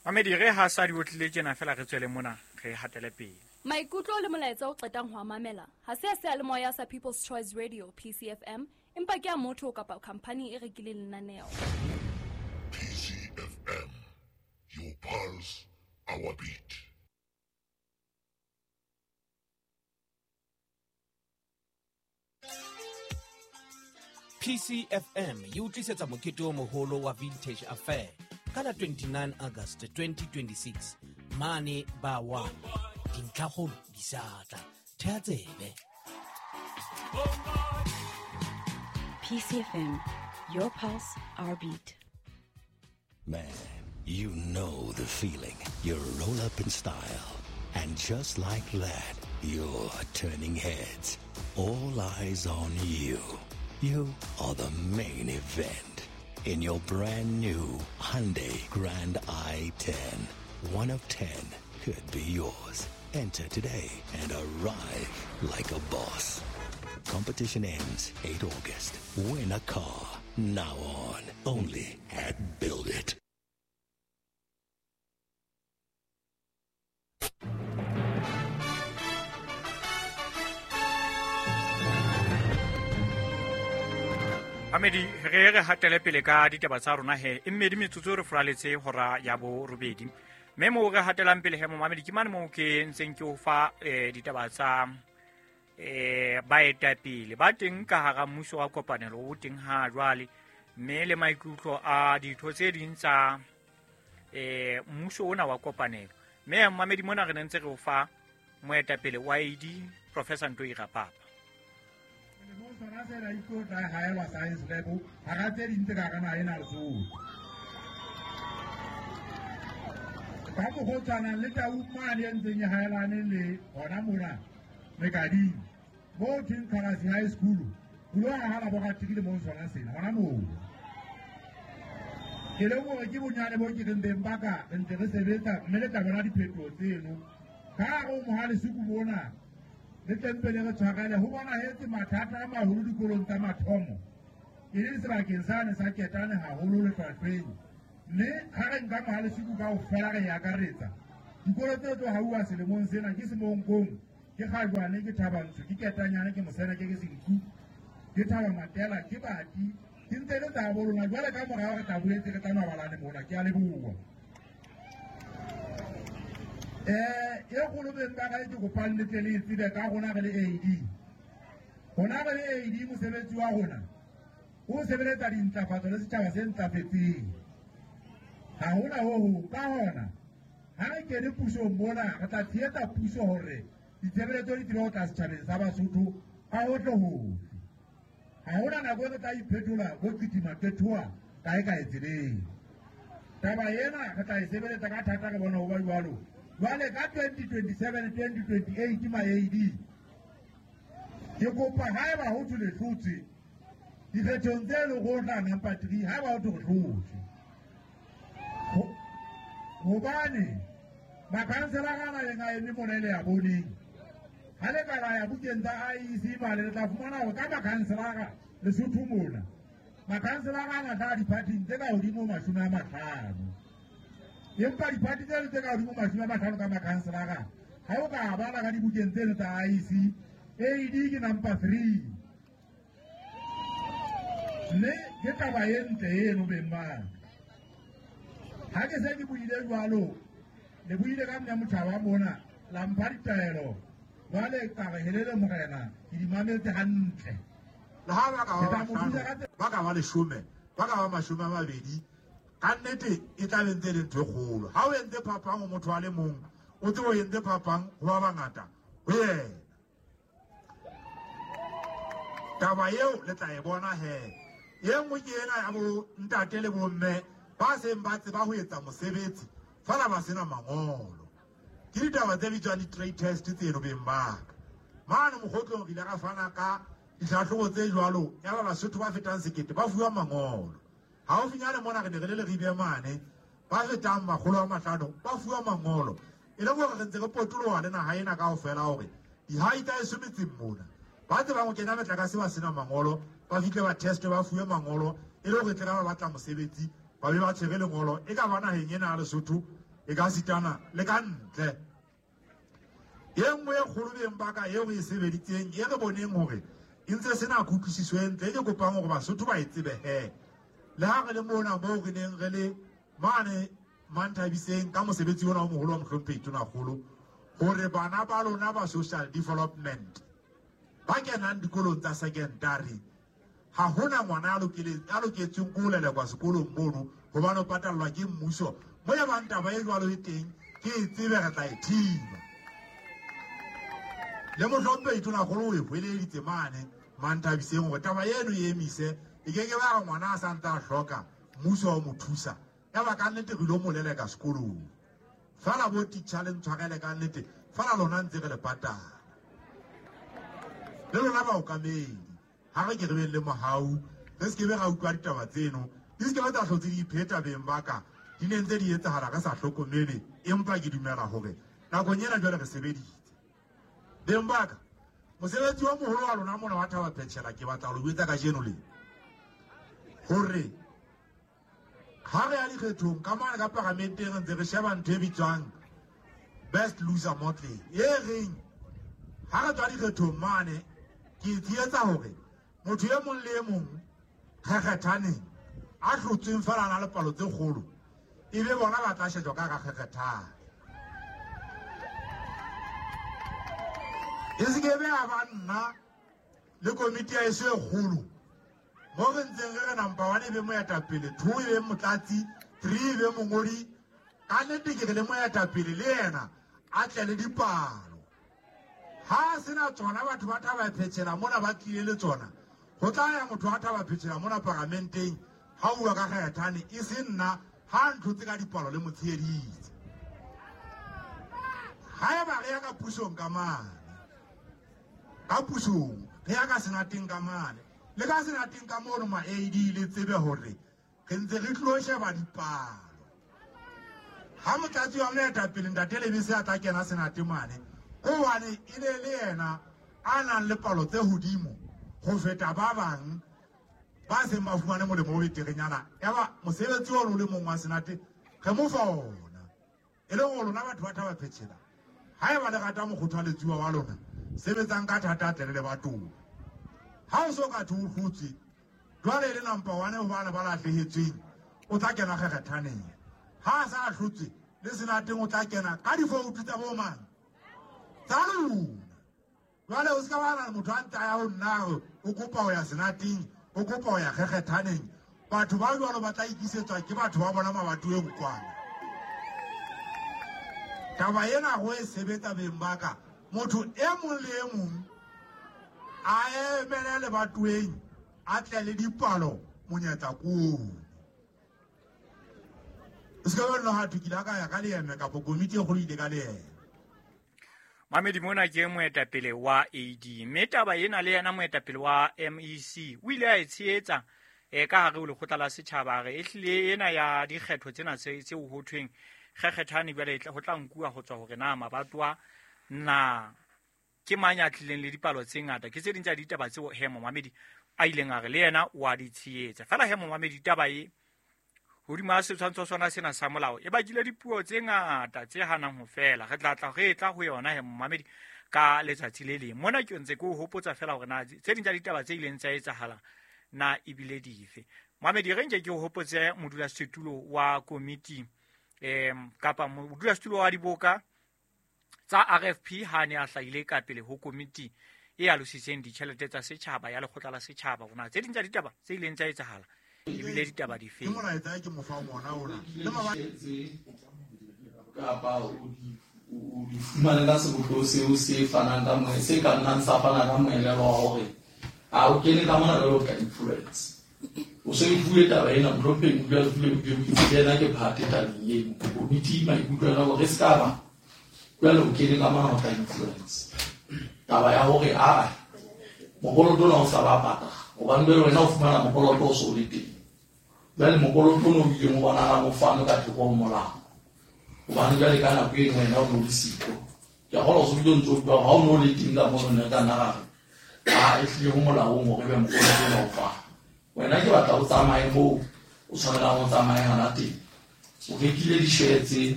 Mamedi, re ha sa di otlile tjena fela re tswele mona, re hatele pele. Maikutlo le molaetsa o qetang ho a mamela ha se a seyalemoya sa People's Choice Radio, PCFM, empa ke a motho kapa khamphani e rekileng lenaneo. PCFM, your pulse, our beat. PCFM e o tlisetsa mokete o moholo wa Vintage Affair ka la 29 August 2026 mane ba 1. Dintlhakgolo di sa tla. Thea tsebe. PCFM, your pulse, our beat. Man, you know the feeling. You roll up in style. And just like that, you're turning heads. All eyes on you. You are the main event. In your brand new Hyundai Grand i10. 1 of 10 could be yours. Enter today and arrive like a boss. Competition ends 8 August. Win a car. Now on. Only at Build It. Mamedi, re re hatele pele ka ditaba tsa rona he. E mmedi metsotso re furaletse hora ya borobedi. Mme moo re hatelang pele he momamedi, ke mane moo ke ntseng ke o fa ditaba tsa baetapele ba teng ka hara mmuso wa kopanelo o teng ha jwale, mme le maikutlo a ditho tse ding tsa mmuso ona wa kopanelo. Mme momamedi, mona re ne ntse re o fa moetapele wa AD, Professor Ntoi Rapapa. Sona sena e tlo tla haelwa science lab hara tse ding tse ka hara naha ena Lesotho. Ka mokgwa o tshwanang le tau mane e ntseng e haelane le hona mona Mekading, moo thweng Kgalasi High School, ho lo aha laboratory le moo sona sena hona moo. Ke le hore ke bonyane bo ke reng beng ba ka re ntse re sebetsa, mme le tla bona diphetoho tseno. Ka hare ho Mohalesuku mona, le tempele re tshwarele ho bonahetse mathata a maholo dikolong tsa mathomo, e leng sebakeng sane sa Ketane haholo lefapheng. Mme ha re nka Mohalesuku kaofela re e akaretsa, dikolo tse tlo hauwa selemong sena ke Semonkong, ke Kgajwane, ke Thabantsho, ke Ketanyane, ke Moseneke, ke Senqu, ke Thaba Matela, ke Bati, ke ntse le tsa bo lona. Jwale ka morao re tla boetse re tla mabalane mona. Ke a leboha. E kgolo beng ba ka e ke kopang le tle le e tsebe ka rona re le AD. Rona re le AD, mosebetsi wa rona o sebeletsa dintlafatso le setjhaba se ntlafetseng. Ha hona ho hong. Ka hona, ha re kene pusong mona, re tla tshehetsa puso hore ditshebeletso di tsebe ho tla setjhabeng sa Basotho ka hohle hohle. Ha hona nako e re tla iphetola bo qitima qethoa kae kae tseleng. Taba ena re tla e sebeletsa ka thata, re bona ho ba jwalo. Jwale ka 2027, 2028 ma AD, ke kopa haeba ho thwe le hlotse dikgethong tse leng ho tla number 3, haeba ho thwe re hlotse, hobane makhanselara a nang a eme mona e le ya boneng, ha le ka la ya bukeng tsa IEC mane, le tla fumana hore ka makhanselara Lesotho mona, makhanselara a na tla diphathing tse ka hodimo 50. Empa diphathi tseno tse ka hodimo 50 ka makhanselara, ha o ka bala ka dibukeng tseno tsa IEC, AD ke number 3. Mme ke taba e ntle eno beng ba. Ha ke se ke buile jwalo, Le buile ka mme Motjhaba mona la mpha ditaelo jwale ka re helele morena ke di mametse hantle. Le ha ba ka ba bahlano, ba ka ba 10, ba ka ba 20, ka nnete e tla be ntse le ntho e kgolo. Ha o entse phapang ho motho a le mong, o tsebe o entse phapang ho ba bangata ho yena. Taba eo le tla e bona he. E nngwe ke ena ya bo ntate le bomme ba seng ba tseba ho etsa mosebetsi fela ba sena mangolo. Ke ditaba tse bitswang di-trade test tseno beng ba ka. Mane mokgotlong re ile ra fana ka ditlhatlhobo tse jwalo, ya ba Basotho ba fetang 1000 ba fuwa mangolo. Haufinyane mona re ne re le Leribe mane, ba fetang 500 ba fuwa mangolo. E le hore re ntse re potoloha le naha ena kaofela hore dihai tsa eso metseng mona ba tsebang ho kena metlakase ba sena mangolo, ba fihle ba testwe ba fuwe mangolo, e le hore tle ba batla mosebetsi ba be ba tshwere lengolo, e ka ba naheng ena ya Lesotho, e ka sitana le ka ntle. E nngwe e kgolo beng ba ka eo re e sebeditseng, e re boneng hore e ntse sena kutlwisiso e ntle, e ke kopang hore Basotho ba e tsebe he. Le ha re le mona moo re neng re le mane Manthabiseng ka mosebetsi ona o moholo wa mohlomphehi Tonakgolo, hore bana ba lona ba social development ba kenang dikolong tsa secondary, ha hona ngwana a loketsweng ke ho lelekwa sekolong mono hobane o patallwa ke mmuso. Mo e bang taba e jwalo e teng, ke e tsebe re tla e thiba. Le mohlomphehi Tonakgolo o e hweleditse mane Manthabiseng hore taba eno e emise, e ke ke ba re ngwana a sa ntse a hloka mmuso wa mo thusa. Ya ba ka nnete re ilo mo leleka sekolong. Fela bo teacher le ntshwarele ka nnete, fela lona ntse re le patala. Le lona baokamedi, ha re ke re beng le mohau, re se ke be ra utlwa ditaba tseno, di se ke be tsa hlotse di ipheta beng ba ka, di ne ntse di etsahala re sa hlokomele, empa ke dumela hore nakong ena jwale re sebeditse. Beng ba ka, mosebetsi wa moholo wa lona mona wa Thaba Phechela ke batla ho le jwetsa kajeno le hore ha re ya dikgethong ka mane ka paramenteng re ntse re sheba ntho e bitswang best loser model, e reng ha re tswa dikgethong mane ke tsietsa hore motho e mong le e mong kgekgethaneng a hlotsweng fela a na le palo tse kgolo, e be bona ba tla shejwa ka kgekgethane. E se ke be a ba nna le komiti ya eso e kgolo mo re ntseng re re number 1 e be moetapele, 2 e be motlatsi, 3 e be mongodi. Ka nnete ke re le moetapele le yena a tle le dipalo. Ha sena tsona batho ba Thaba Phechela mona ba tlile le tsona, ho tla ya motho wa Thaba Phechela mona paramenteng ha bua ka kgethane, e se nna ha ntlhotse ka dipalo le motsheheditse. Haeba re ya ka pusong ka mane, ka pusong re ya ka senateng ka mane, le ka senateng ka mono ma AD le tsebe hore re ntse re tlo sheba dipalo. Ha motlatsi wa moetapele ntate Lebese a tla kena senate mane, hobane e ne le yena a nang le palo tse hodimo ho feta ba bang ba seng ba fumane molemo o beterenyana, ya ba mosebetsi ono o le mong wa senate re mo fa ona. E le hore lona batho ba Thaba Phechela, haeba le rata mokgothaletsuwa wa lona, sebetsang ka thata tle le lebatowa. Ha o so ka thwe o hlotswe, jwale e le number 1 ho bana ba lahlehetsweng, o tla kena kgekgethaneng. Ha a sa hlotswe le senateng o tla kena ka difoutu tsa bo mang? Tsa lona. Jwale o se ka ba motho a ntse a ya ho nna hore o kopa ho ya senateng, o kopa ho ya kgekgethaneng. Batho ba jwalo ba tla ikisetswa ke batho ba bona mabatoweng kwana. Taba ena ho e sebetsa beng ba ka, motho e mong le e mong a emele lebatoweng, a tle le dipalo monyetla koo. O se ka ba nna ha thwe ke ile ka ya ka leeme kapo komiti e kgolo ile ka leeme. Mamedi mona ke moetapele wa AD, mme taba ena le yena moetapele wa MEC o ile a e tshehetsa ka hare ho lekgotla la setjhaba. Re ehlile ena ya dikgetho tsena tseo ho thweng kgekgethane jwale ho tla nkuwa ho tswa hore na mabatowa na ke mang ya tlileng le dipalo tse ngata. Ke tse ding tsa ditaba tseo he momamedi a ileng a re le yena wa di tshehetsa. Fela he momamedi, taba e hodima setshwantsho sona sena sa molao e bakile dipuo tse ngata tse hanang ho fela. Re tla tla re tla ho yona he momamedi ka letsatsi le leng. Mona ke ntse ke o hopotsa fela hore na tse ding tsa ditaba tse ileng tsa etsahala na ebile dife. Momamedi, re nke ke o hopotse modulasetulo wa komiti Kapa modulasetulo wa diboka tsa RFP ha ne a hlahile ka pele ho komiti e alositseng ditjhelete tsa setjhaba ya lekgotla la setjhaba hore na tse ding tsa ditaba tse ileng tsa etsahala ebile ditaba dife. Ke molaetsa ke mo fa ona ona. Le kapa o di fumane ka sebopeho seo se fanang ka moe se ka nnang sa fana ka moelelo wa hore a o kene ka mona jwalo ka influence. O se o bue taba ena mohlomphehi modulasetulo o itse le yena ke phate tabeng eno. Komiti maikutlo a hore se ka ba jwale o kene ka mona ho tla influence. Taba ya hore a mokoloto ona o sa ba patala hobane jwale wena o fumana mokoloto o so le teng. Jwale mokoloto ono o ileng o bonahalang o fanwe ka thoko ho molao. Hobane jwale ka nako eno wena o no le siko. Ke a kgolwa o so bile o ntso utlwa hore ha o no le teng ka mono ne ka nna ra re a ehlile ho molaong hore ebe mokoloto ona o fanwe. Wena ke batla o tsamaye moo o tshwanelang o tsamaye hana teng. O rekile di-share tse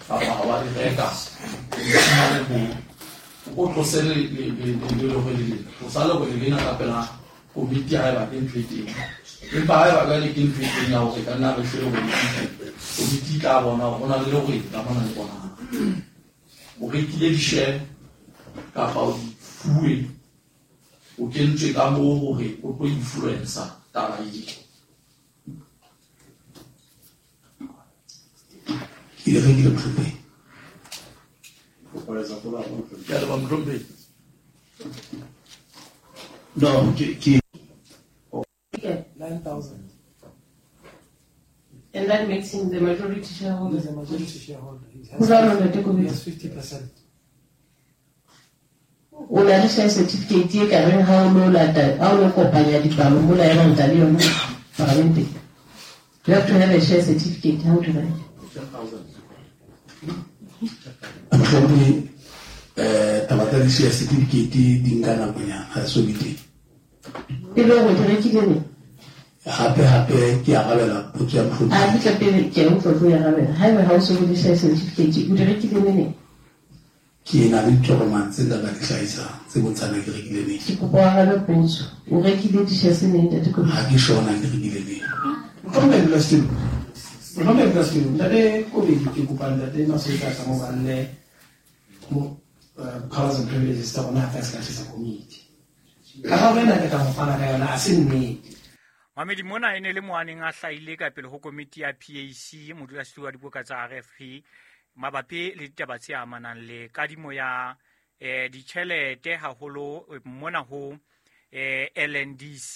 kapa ha wa di reka, o di fumane moo. O tlose lerwele lena. Tlosa lerwele lena ka pela komiti haeba ke ntho e teng. Empa haeba jwale ke ntho e teng ya hore ka nna re shwe lerwele le komiti e tla bona hore ho na le lerwele ka mona le bonahala. O rekile di-share kapa o di fuwe, o kentswe ka moo hore o tlo influencer taba eo. Ke di rekile mohlomphehi. Ke a leboha mohlomphehi. No, ke 9,000. And that makes him the majority shareholder. He's the majority shareholder. He has 50%. O na le share certificate e ka reng ha o lo lata, ha o lo kopanya dipalo mola ya bang le yona parlamente. You have to have a share certificate. How do that? 10,000. Mohlomphehi, taba tsa di-share certificate di nka nakonyana, ha so be teng. E le hore di rekile neng? Hape ke arabela potso ya mohlomphehi. A ke tla pele ke a utlwa tlo e arabela. Haeba ha o so be le share certificate, o di rekile neng? Ke na le ditokomane tse nka ka di hlahisang tse bontshang ke rekile neng. Ke kopa o arabe potso. O rekile di-shares neng, Ntate Kobetsi? Ha ke sure na ke rekile neng. Mohlomphehi modulasetulo. Mohlomphehi modulasetulo, Ntate Kobetsi ke kopa Ntate Masoetsa a mo balle mo powers and privileges tsa rona ha ka se ka komiti. Karabo ena ke tla mo fana ka yona ha se nnete. Mamedi mona e ne le mo a neng a hlahile ka pele ho komiti ya PAC modulasetulo wa diboka tsa RFP mabapi le ditaba tse amanang le kadimo ya ditjhelete haholo mona ho LNDC.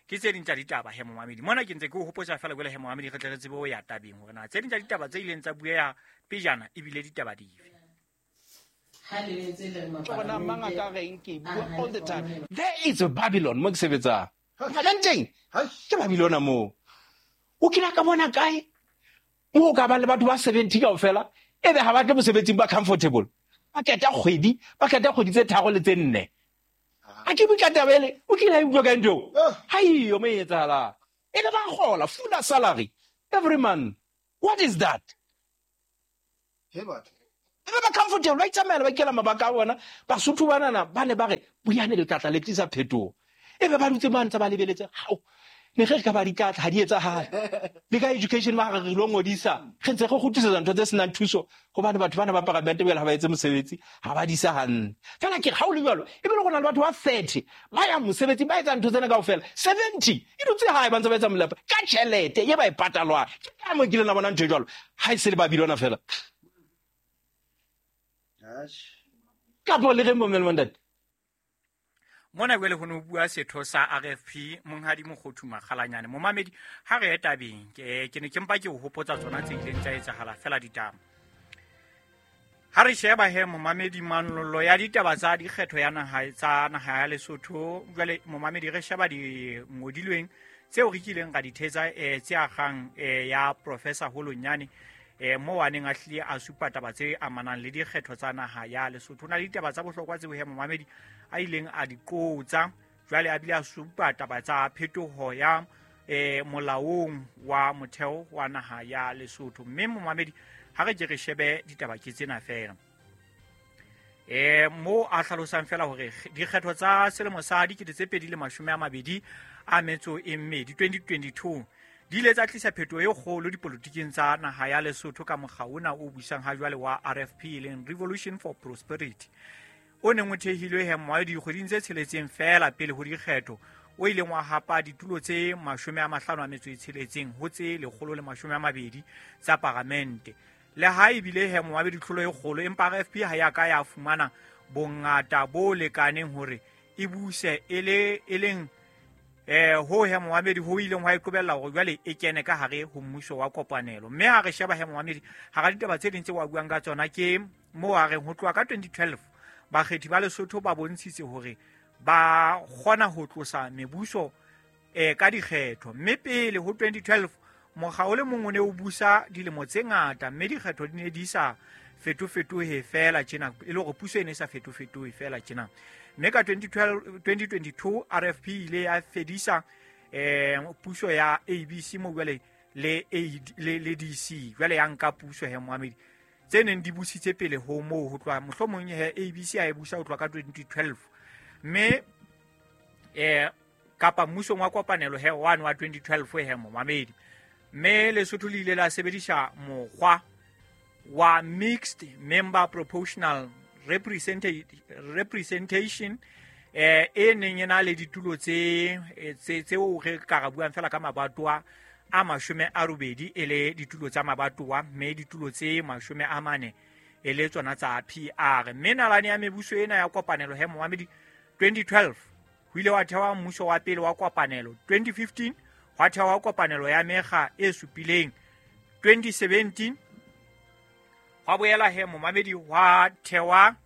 Ke tse ding tsa ditaba he momamedi. Mona ke ntse ke o hopotsa feela jwale he momamedi re tle re tsebe ho ya tabeng hore na tse ding tsa ditaba tse ileng tsa bueha pejana ebile ditaba dife. Bona mang a ka reng ke bua all the time. There is a Babylon mo ke sebetsang. Teng ke Babylona moo. O kile ka bona kae? Mo ka ba le batho ba 70 kaofela ebe ha ba tle mosebetsing ba comfortable. Ba keta kgwedi, ba keta kgwedi tse 3 le tse 4. A ke bua taba ele, o kile a utlwa ka ntho. Ha iyo mo etsahala. Ebe ba kgola full salary every month. What is that? He batho. Ebe ba comfortable, ba itsamaela ba ikela mabaka a bona. Basotho banana ba ne ba re buyane le tlatla le tlisa phetoho. Ebe ba dutse ba ntse ba lebeletse. Hao. Ne re ka ba ditlatla ha di etsahale. Le ka education ba re lo ngodisa. Re ntse re kgutlisetsa ntho tse senang thuso hobane batho bana ba parliament bjale ha ba etse mosebetsi, ha ba disa hantle. Fela ke ha o le jwalo, ebile go na le batho ba 30 ba yang mosebetsi ba etsa ntho tsena kaofela. 70 e dutse hae ba ntse ba etsa molepo ka tjhelete e ba e patalwang. Ke ka mo kile la bona ntho e jwalo. Ha e se le Babylona fela. Ka bo le re mo ntate. Mona jwale ho no bua setho sa RFP monghadi Mokgothu Makgalanyane. Momamedi ha re tabeng ke ne ke mpa ke o hopotsa tsona tse ileng tsa etsahala fela ditaba. Ha re sheba he momamedi manollo ya ditaba tsa dikgetho ya naha tsa naha ya Lesotho jwale momamedi re sheba di ngodilweng tseo re kileng ra di thetsa tse akgang ya Professor Holonyane mo a neng a hlile a supa taba tse amanang le dikgetho tsa naha ya Lesotho. Na le ditaba tsa bohlokwa tseo he momamedi a ileng a di qotsa jwale a bile a supa taba tsa phetoho ya molaong wa motheo wa naha ya Lesotho. Mme momamedi ha re ke re shebe ditaba ke tsena fela. Mo a hlalosang fela hore dikgetho tsa selemo sa 2022 2022 2022 Di ile tsa tlisa phetoho e kgolo dipolotiking tsa naha ya Lesotho ka mokga ona o busang ha jwale wa RFP, e leng Revolution for Prosperity, o neng o thehilwe he moaedi dikgweding tse tsheletseng feela pele ho dikgetho, o ileng wa hapa ditulo tse 56 ho tse 120 tsa paramente. Le ha ebile he moaedi tlholo e kgolo, empa RFP ha ya ka ya fumana bongata bo lekaneng hore e buse e leng ho he moamedi ho ileng hwa iqobella hore jwale e kene ka hare ho mmuso wa kopanelo. Mme ha re sheba he moamedi hara ditaba tse ding tse wa buang ka tsona ke moo a reng ho tloha ka 2012 bakgethi ba Lesotho ba bontshitse hore ba kgona ho tlosa mebuso ka dikgetho. Mme pele ho 2012 mokga o le mong o ne o busa dilemo tse ngata, mme dikgetho di ne di sa fetofetohe fela tjena, e le hore puso e ne e sa fetofetohe fela tjena. Mme ka 2022 RFP ile ya fedisa puso ya ABC mo jwale le le DC, jwale ya nka puso he moamedi tse neng di busitse pele ho moo ho tloha mohlomong he ABC a e busa ho tloha ka 2012, mme kapa mmusong wa kopanelo he one wa 2012 he moamedi. Mme Lesotho le ile la sebedisa mokgwa wa mixed member proportional representation e neng e na le ditulo tseo re ka ra buang fela ka mabatowa a 80 e le ditulo tsa mabatowa, mme ditulo tse 40 e le tsona tsa PR. Mme nalane ya mebuso ena ya kopanelo he moamedi 2012 ho ile wa thewa mmuso wa pele wa kopanelo, 2015 hwa thewa kopanelo ya mekga e supileng, 2017 hwa boela he momamedi hwa thewa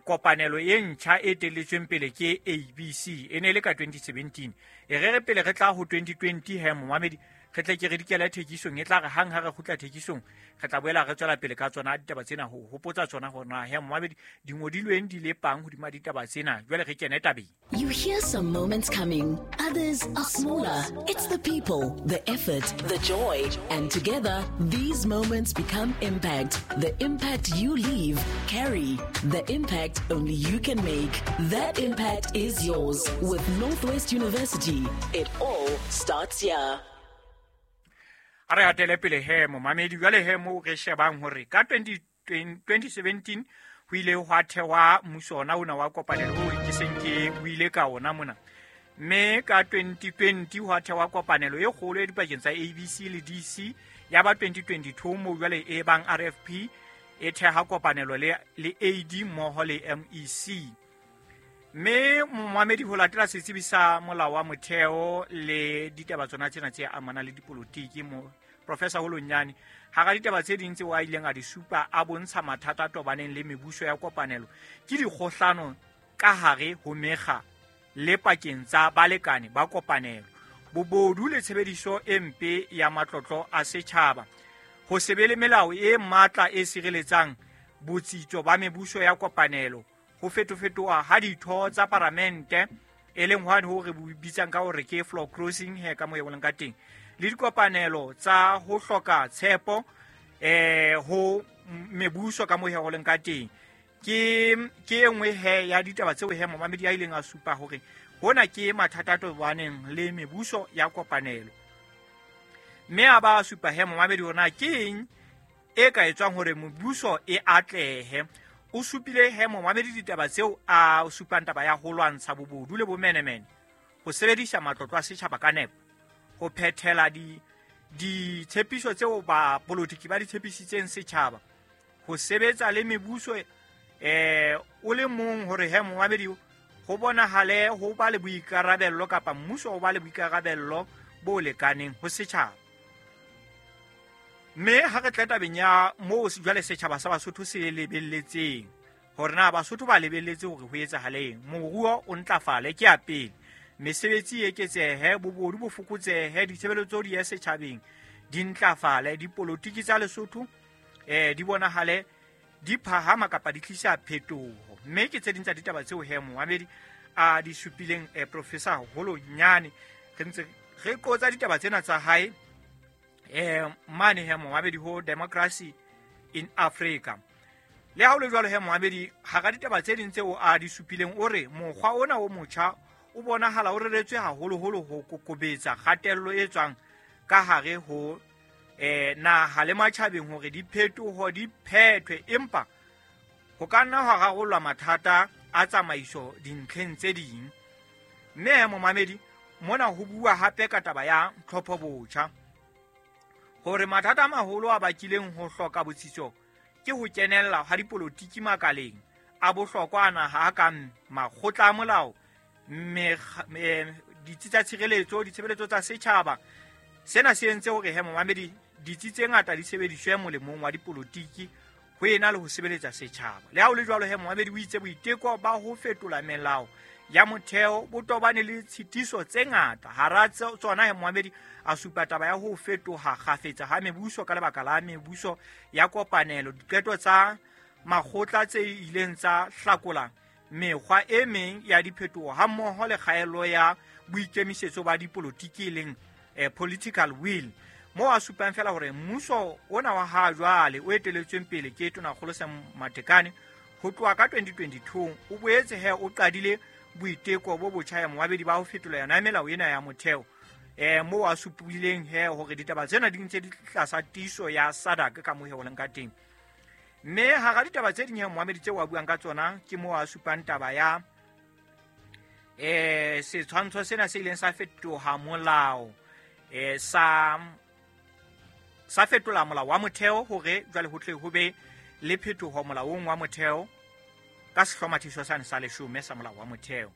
kopanelo e ntjha e telletsweng pele ke ABC, e ne le ka 2017. E re re pele re tla ho 2020 he momamedi re tle ke re dikela thekisong, e tla re hang ha re kgutla thekisong re tla boela re tswela pele ka tsona ditaba tsena, ho hopotsa tsona hore na he momamedi di ngodilweng di le pang hodima ditaba tsena. Jwale re kene tabeng. You hear some moments coming, others are smaller. It's the people, the effort, the joy, and together, these moments become impact. The impact you leave, carry. The impact only you can make. That impact is yours. With Northwest University, it all starts here. A re hatele pele he momamedi, jwale he mo re shebang hore ka 2017 ho ile hwa thewa mmuso ona ona wa kopanelo o ke seng ke o ile ka ona mona. Mme ka 2020 hwa thewa kopanelo e kgolo e dipakeng tsa ABC le DC, ya ba 2022 mo jwale e bang RFP e theha kopanelo le AD mmoho le MEC. Mme momamedi ho latela setsebi sa molao wa motheo le ditaba tsona tsena tse amanang le dipolotiki mo Professor Holonyane, hara ditaba tse ding tseo a ileng a di supa a bontsha mathata a tobaneng le mebuso ya kopanelo ke dikgohlano ka hare ho mekga le pakeng tsa balekane ba kopanelo, bobodu le tshebediso e mpe ya matlotlo a setjhaba, ho se be le melao e matla e sireletsang botsitso ba mebuso ya kopanelo, ho fetofetoha ha ditho tsa paramente e leng hwane ho re bitsang ka hore ke floor crossing he ka mo e boleng ka teng, le dikopanelo tsa ho hloka tshepo ho mebuso ka mo e holeng ka teng. Ke e nngwe he ya ditaba tseo he momamedi a ileng a supa hore hona ke mathata a tobaneng le mebuso ya kopanelo. Mme a ba supa he momamedi hore na ke eng e ka etswang hore mebuso e atlehe. O supile he momamedi ditaba tseo a supang taba ya ho lwantsha bobodu le bomenemene, ho sebedisa matlotlo a setjhaba ka nepo, ho phethela ditshepiso tseo ba politiki ba di tshepisitseng setjhaba, ho sebetsa le mebuso o le mong hore he momamedi ho bonahale ho ba le boikarabello kapa mmuso o ba le boikarabello bo lekaneng ho setjhaba. Mme ha re tla tabeng ya moo jwale setjhaba sa Basotho se lebelletseng hore na Basotho ba lebelletse hore ho etsahaleng, moruo o ntlafale ke ya pele, mesebetsi e eketsehe, bobodu bo fokotsehe, ditshebeletso di ye setjhabeng di ntlafale, dipolotiki tsa Lesotho di bonahale di phahama kapa di tlisa phetoho. Mme ke tse ding tsa ditaba tseo he momamedi a di supileng Professor Holonyane. Re ntse re qotsa ditaba tsena tsa hae mane he momamedi ho Democracy in Africa. Le ha ho le jwalo he momamedi, hara ditaba tse ding tseo a di supileng o re mokgwa ona o motjha o bonahala o reretswe haholoholo ho kokobetsa kgatello e tswang ka hare ho naha le matjhabeng hore diphetoho di phethwe, empa ho ka nna hwa rarollwa mathata a tsamaiso dintlheng tse ding. Mme momamedi, mona ho bua hape ka taba ya tlhopho botjha, hore mathata a maholo a bakileng ho hloka botsitso ke ho kenella ha dipolotiki makaleng a bohlokwa a naha a kang makgotla a molao, ditsi tsa tshireletso, ditshebeletso tsa setjhaba. Sena se entse hore he momamedi ditsi tse ngata di sebediswe molemong wa dipolotiki ho ena le ho sebeletsa setjhaba. Le ha ho le jwalo he momamedi, o itse boiteko ba ho fetola melao ya motheo bo tobane le tshitiso tse ngata. Hara tsona he momamedi, a supa taba ya ho fetoha kgafetsa ha mebuso ka lebaka la mebuso ya kopanelo, diqeto tsa makgotla tse ileng tsa hlakola mekgwa e meng ya diphetoho hammoho le kgaello ya boikemisetso ba dipolotiki e leng political will, moo a supang fela hore mmuso ona wa ha jwale o eteletsweng pele ke Tonakgolo Sam Matekane ho tloha ka 2022 o boetse he o qadile boiteko bo botjha ya momamedi ba ho fetola yona melao ena ya motheo, moo a supileng he hore ditaba tsena di ntse di tlasa tiiso ya SADC ka moo ho leng ka teng. Mme hara ditaba tse ding he momamedi tseo a buang ka tsona ke moo a supang taba ya setshwantsho sena se ileng sa fetoha molao, sa fetola molao wa motheo hore jwale ho tle ho be le phetoho molaong wa motheo ka sehlomathiso sane sa 10 sa molao wa motheo.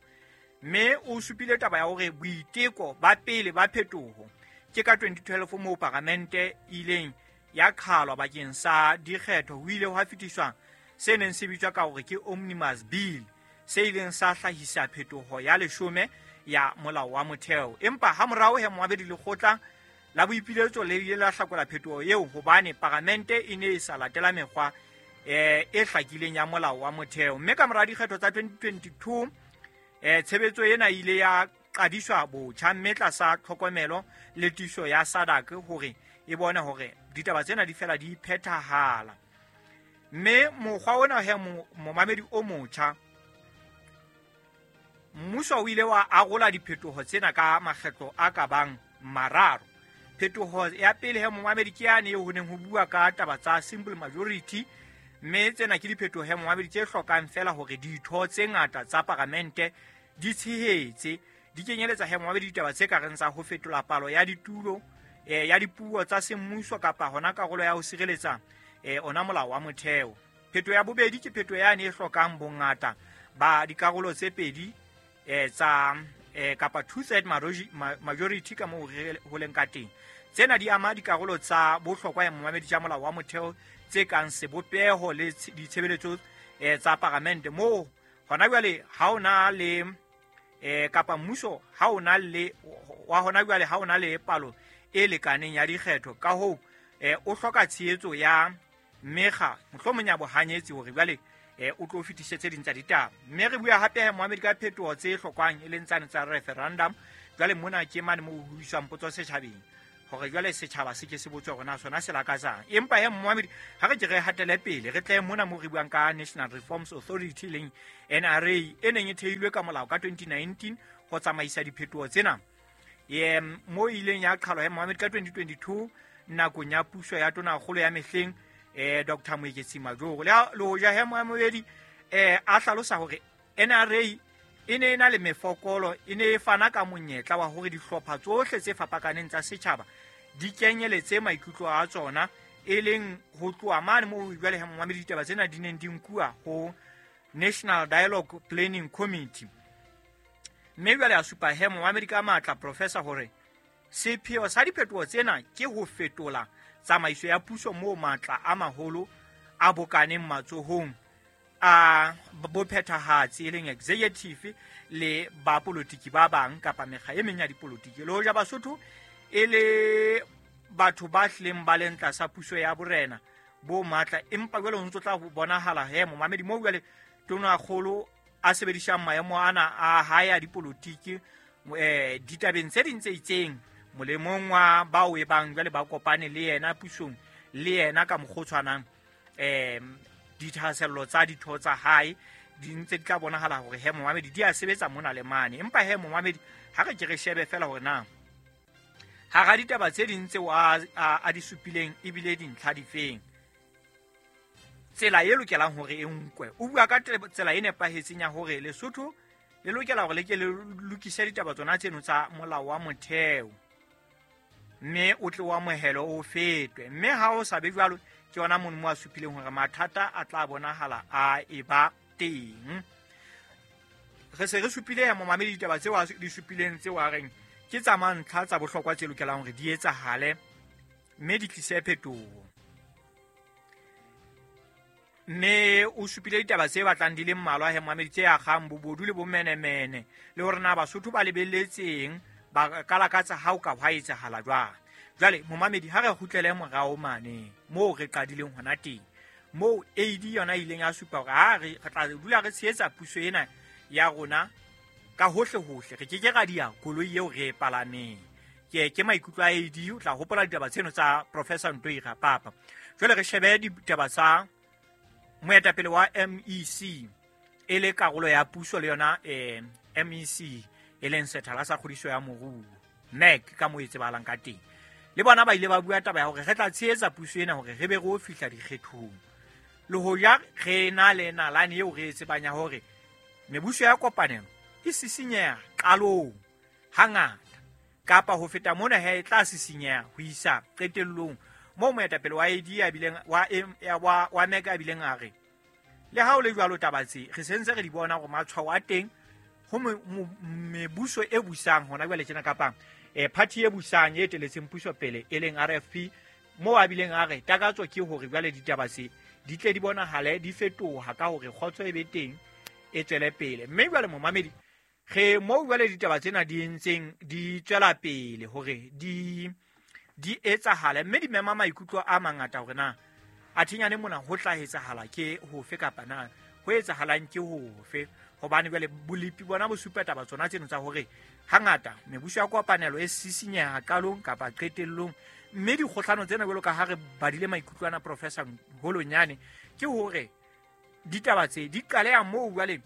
Mme o supile taba ya hore boiteko ba pele ba phetoho ke ka 2012 moo paramente ileng ya qhalwa bakeng sa dikgetho, ho ile hwa fetiswa se neng se bitswa ka hore ke Omnibus Bill, se ileng sa hlahisa phetoho ya 10 ya molao wa motheo. Empa hamorao he momamedi, lekgotla la boipiletso le ile la hlakola phetoho eo hobane paramente e ne e sa latela mekgwa e hlakileng ya molao wa motheo. Mme ka mora dikgetho tsa 2022 tshebetso ena ile ya qadiswa botjha, mme tlasa tlhokomelo le tiiso ya SADC hore e bone hore ditaba tsena di fela di phethahala. Mme mokgwa ona he momamedi o motjha, mmuso o ile wa arola diphetoho tsena ka makgetlo a ka bang mararo. Phetoho ya pele he momamedi ke yane eo ho neng ho bua ka taba tsa simple majority, mme tsena ke diphetoho he momamedi tse hlokang fela hore ditho tse ngata tsa paramente di tshehetse, di kenyeletsa he momamedi ditaba tse ka reng tsa ho fetola palo ya ditulo ya dipuo tsa semmuso kapa hona karolo ya ho sireletsa ona molao wa motheo. Phetoho ya bobedi ke phetoho yane e hlokang bongata ba dikarolo tse pedi tsa kapa two-third majority ka moo ho leng ka teng. Tsena di ama dikarolo tsa bohlokwa ya momamedi tsa molao wa motheo tse kang sebopeho le ditshebeletso tsa paramente, moo hona jwale ha ona le kapa mmuso ha ona le wa hona jwale ha ona le palo e lekaneng ya dikgetho, ka hoo o hloka tshehetso ya mekga mohlomong ya bohanyetsi hore jwale o tlo fetise tse ding tsa ditaba. Mme re bua hape momamedi ka phetoho tse hlokwang e leng tsane tsa referendum. Jwale mona ke mane moo ho iswang potso setjhabeng hore jwale setjhaba se ke se botswe hore na sona se lakatsang. Empa he momamedi, ha re ke re hatele pele, re tle mona moo re buang ka National Reforms Authority leng NRA e neng e theilwe ka molao ka 2019 ho tsamaisa diphetoho tsena, mo ileng ya qhalwa he momamedi ka 2022 nakong ya puso ya Tonakgolo ya mehleng Dr. Moeketsi Majoro. Le hoja he momamedi a hlalosa hore NRA e ne e na le mefokolo, e ne e fana ka monyetla wa hore dihlopha tsohle tse fapakaneng tsa setjhaba di kenyeletse maikutlo a tsona, e leng ho tloha mane moo jwale he momamedi ditaba tsena di neng di nkuwa ho National Dialogue Planning Committee. Mme jwale a supa he momamedi ka matla professor hore sepheo sa diphetoho tsena ke ho fetola tsamaiso ya puso moo matla a maholo a bokaneng matsohong a bophethahatsi e leng executive le bapolotiki ba bang kapa mekga e meng ya dipolotiki. Le hoja Basotho e le batho ba hlileng ba leng tlasa puso ya borena bo matla, empa jwale ho ntso tla bonahala he momamedi moo jwale Tonakgolo a sebedisang maemo ana a hae a dipolotiki ditabeng tse ding tse itseng molemong wa bao e bang jwale ba kopane le yena pusong le yena ka mokgwa o tshwanang, dithahasello tsa ditho tsa hae di ntse di tla bonahala hore he momamedi di a sebetsa mona le mane. Empa he momamedi, ha re ke re shebe fela hore na Hara ditaba tse ding tseo a di supileng ebile dintlha difeng, tsela e lokelang hore e nkwe. O bua ka tsela e nepahetseng ya hore Lesotho le lokela hore le ke le lokise ditaba tsona tseno tsa molao wa motheo, mme o tle o amohelwe o fetwe. Mme ha o sa be jwalo, ke yona mono mo a supileng hore mathata a tla bonahala a eba teng. Re se re supile momamedi ditaba tseo a di supileng tseo a reng ke tsa mantlha tsa bohlokwa tse lokelang hore di etsahale mme di tlise phetoho. Mme o supile ditaba tse batlang di le mmalwa he momamedi, tse akgang bobodu le bomenemene, le hore na Basotho ba lebelletseng ba ka lakatsa ha o ka hwa etsahala jwang. Jwale momamedi, ha re kgutlele morao mane moo re qadileng hona teng, moo AD yona e ileng ya supa hore ha re tla dula re tshehetsa puso ena ya rona ka hohle hohle, re keke ra dia koloi eo re e palameng. Ke maikutlo a AD. O tla hopola ditaba tseno tsa Professor Ntoi Rapapa. Jwale re shebe ditaba tsa moetapele wa MEC e le karolo ya puso le yona MEC e leng sethala sa kgodiso ya moruo, MEC ka moo e tsebahalang ka teng. Le bona ba ile ba bua taba ya hore re tla tshehetsa puso ena hore re be re o fihla dikgethong, le hoja re na le nalane eo re e tsebang ya hore mebuso ya kopanelo e sisinyeha qalong hangata, kapa ho feta mona he e tla sisinyeha ho isa qetellong, moo moetapele wa AD a bileng wa MEC a bileng a re le ha o le jwalo taba tse re sentse re di bona hore matshwao a teng ho mebuso e busang hona jwale tjena, kapa party e busang e eteletseng puso pele e leng RFP, moo a bileng a re takatso ke hore jwale ditaba tse di tle di bonahale di fetoha ka hore kgotso e be teng e tswele pele. Mme jwale momamedi, re moo jwale ditaba tsena di ntseng di tswela pele hore di etsahale, mme di mema maikutlo a mangata hore na a thinyane mona ho tla etsahala ke hofe kapa na ho etsahalang ke hofe. Hobane jwale bolepi bona bo supa taba tsona tseno tsa hore hangata mebuso ya kopanelo e sisinyeha qalong kapa qetellong, mme dikgohlano tsena jwalo ka ha re badile maikutlo ana Professor Holonyane, ke hore ditaba tse di qaleha moo jwale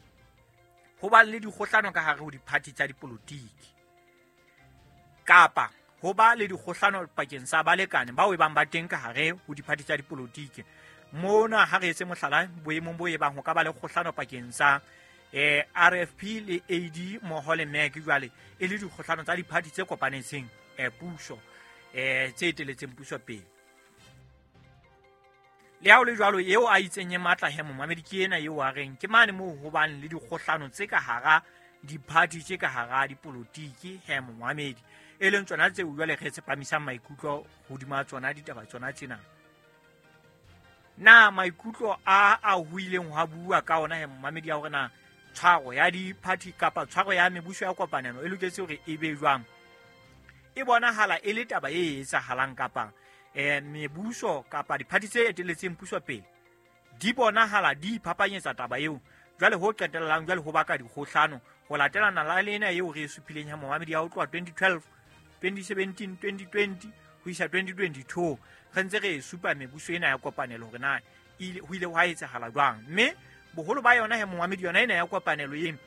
ho ba le dikgohlano ka hare ho diphathi tsa dipolotiki, kapa ho ba le dikgohlano pakeng sa balekane bao e bang ba teng ka hare ho diphathi tsa dipolotiki. Mona ha re etse mohlala boemong bo e bang ho ka ba le kgohlano pakeng sa RFP le AD mmoho le MEC, jwale e le dikgohlano tsa diphathi tse kopanetseng puso tse eteletseng puso pele. Le ha o le jwalo, eo a itseng e matla he momamedi ke ena eo a reng ke mane moo ho bang le dikgohlano tse ka hara diphathi tse ka hara dipolotiki he momamedi, e leng tsona tseo jwale re tsepamisang maikutlo hodima tsona ditaba tsona tsena. Na maikutlo a ho ileng hwa bua ka ona he momamedi ya hore na tshwaro ya diphathi kapa tshwaro ya mebuso ya kopanelo e loketse hore e be jwang, e bonahala e le taba e etsahalang kapa mebuso kapa diphathi tse eteletseng puso pele di bonahala di iphapanyetsa taba eo, jwale ho qetellang jwale ho baka dikgohlano ho latelana la lena eo re e supileng ya momamedi ya ho tloha 2012, 2017, 2020 ho isa 2022. Re ntse re e supa mebuso ena ya kopanelo hore na ho ile hwa etsahala jwang, mme boholo ba yona he momamedi yona ena ya kopanelo eno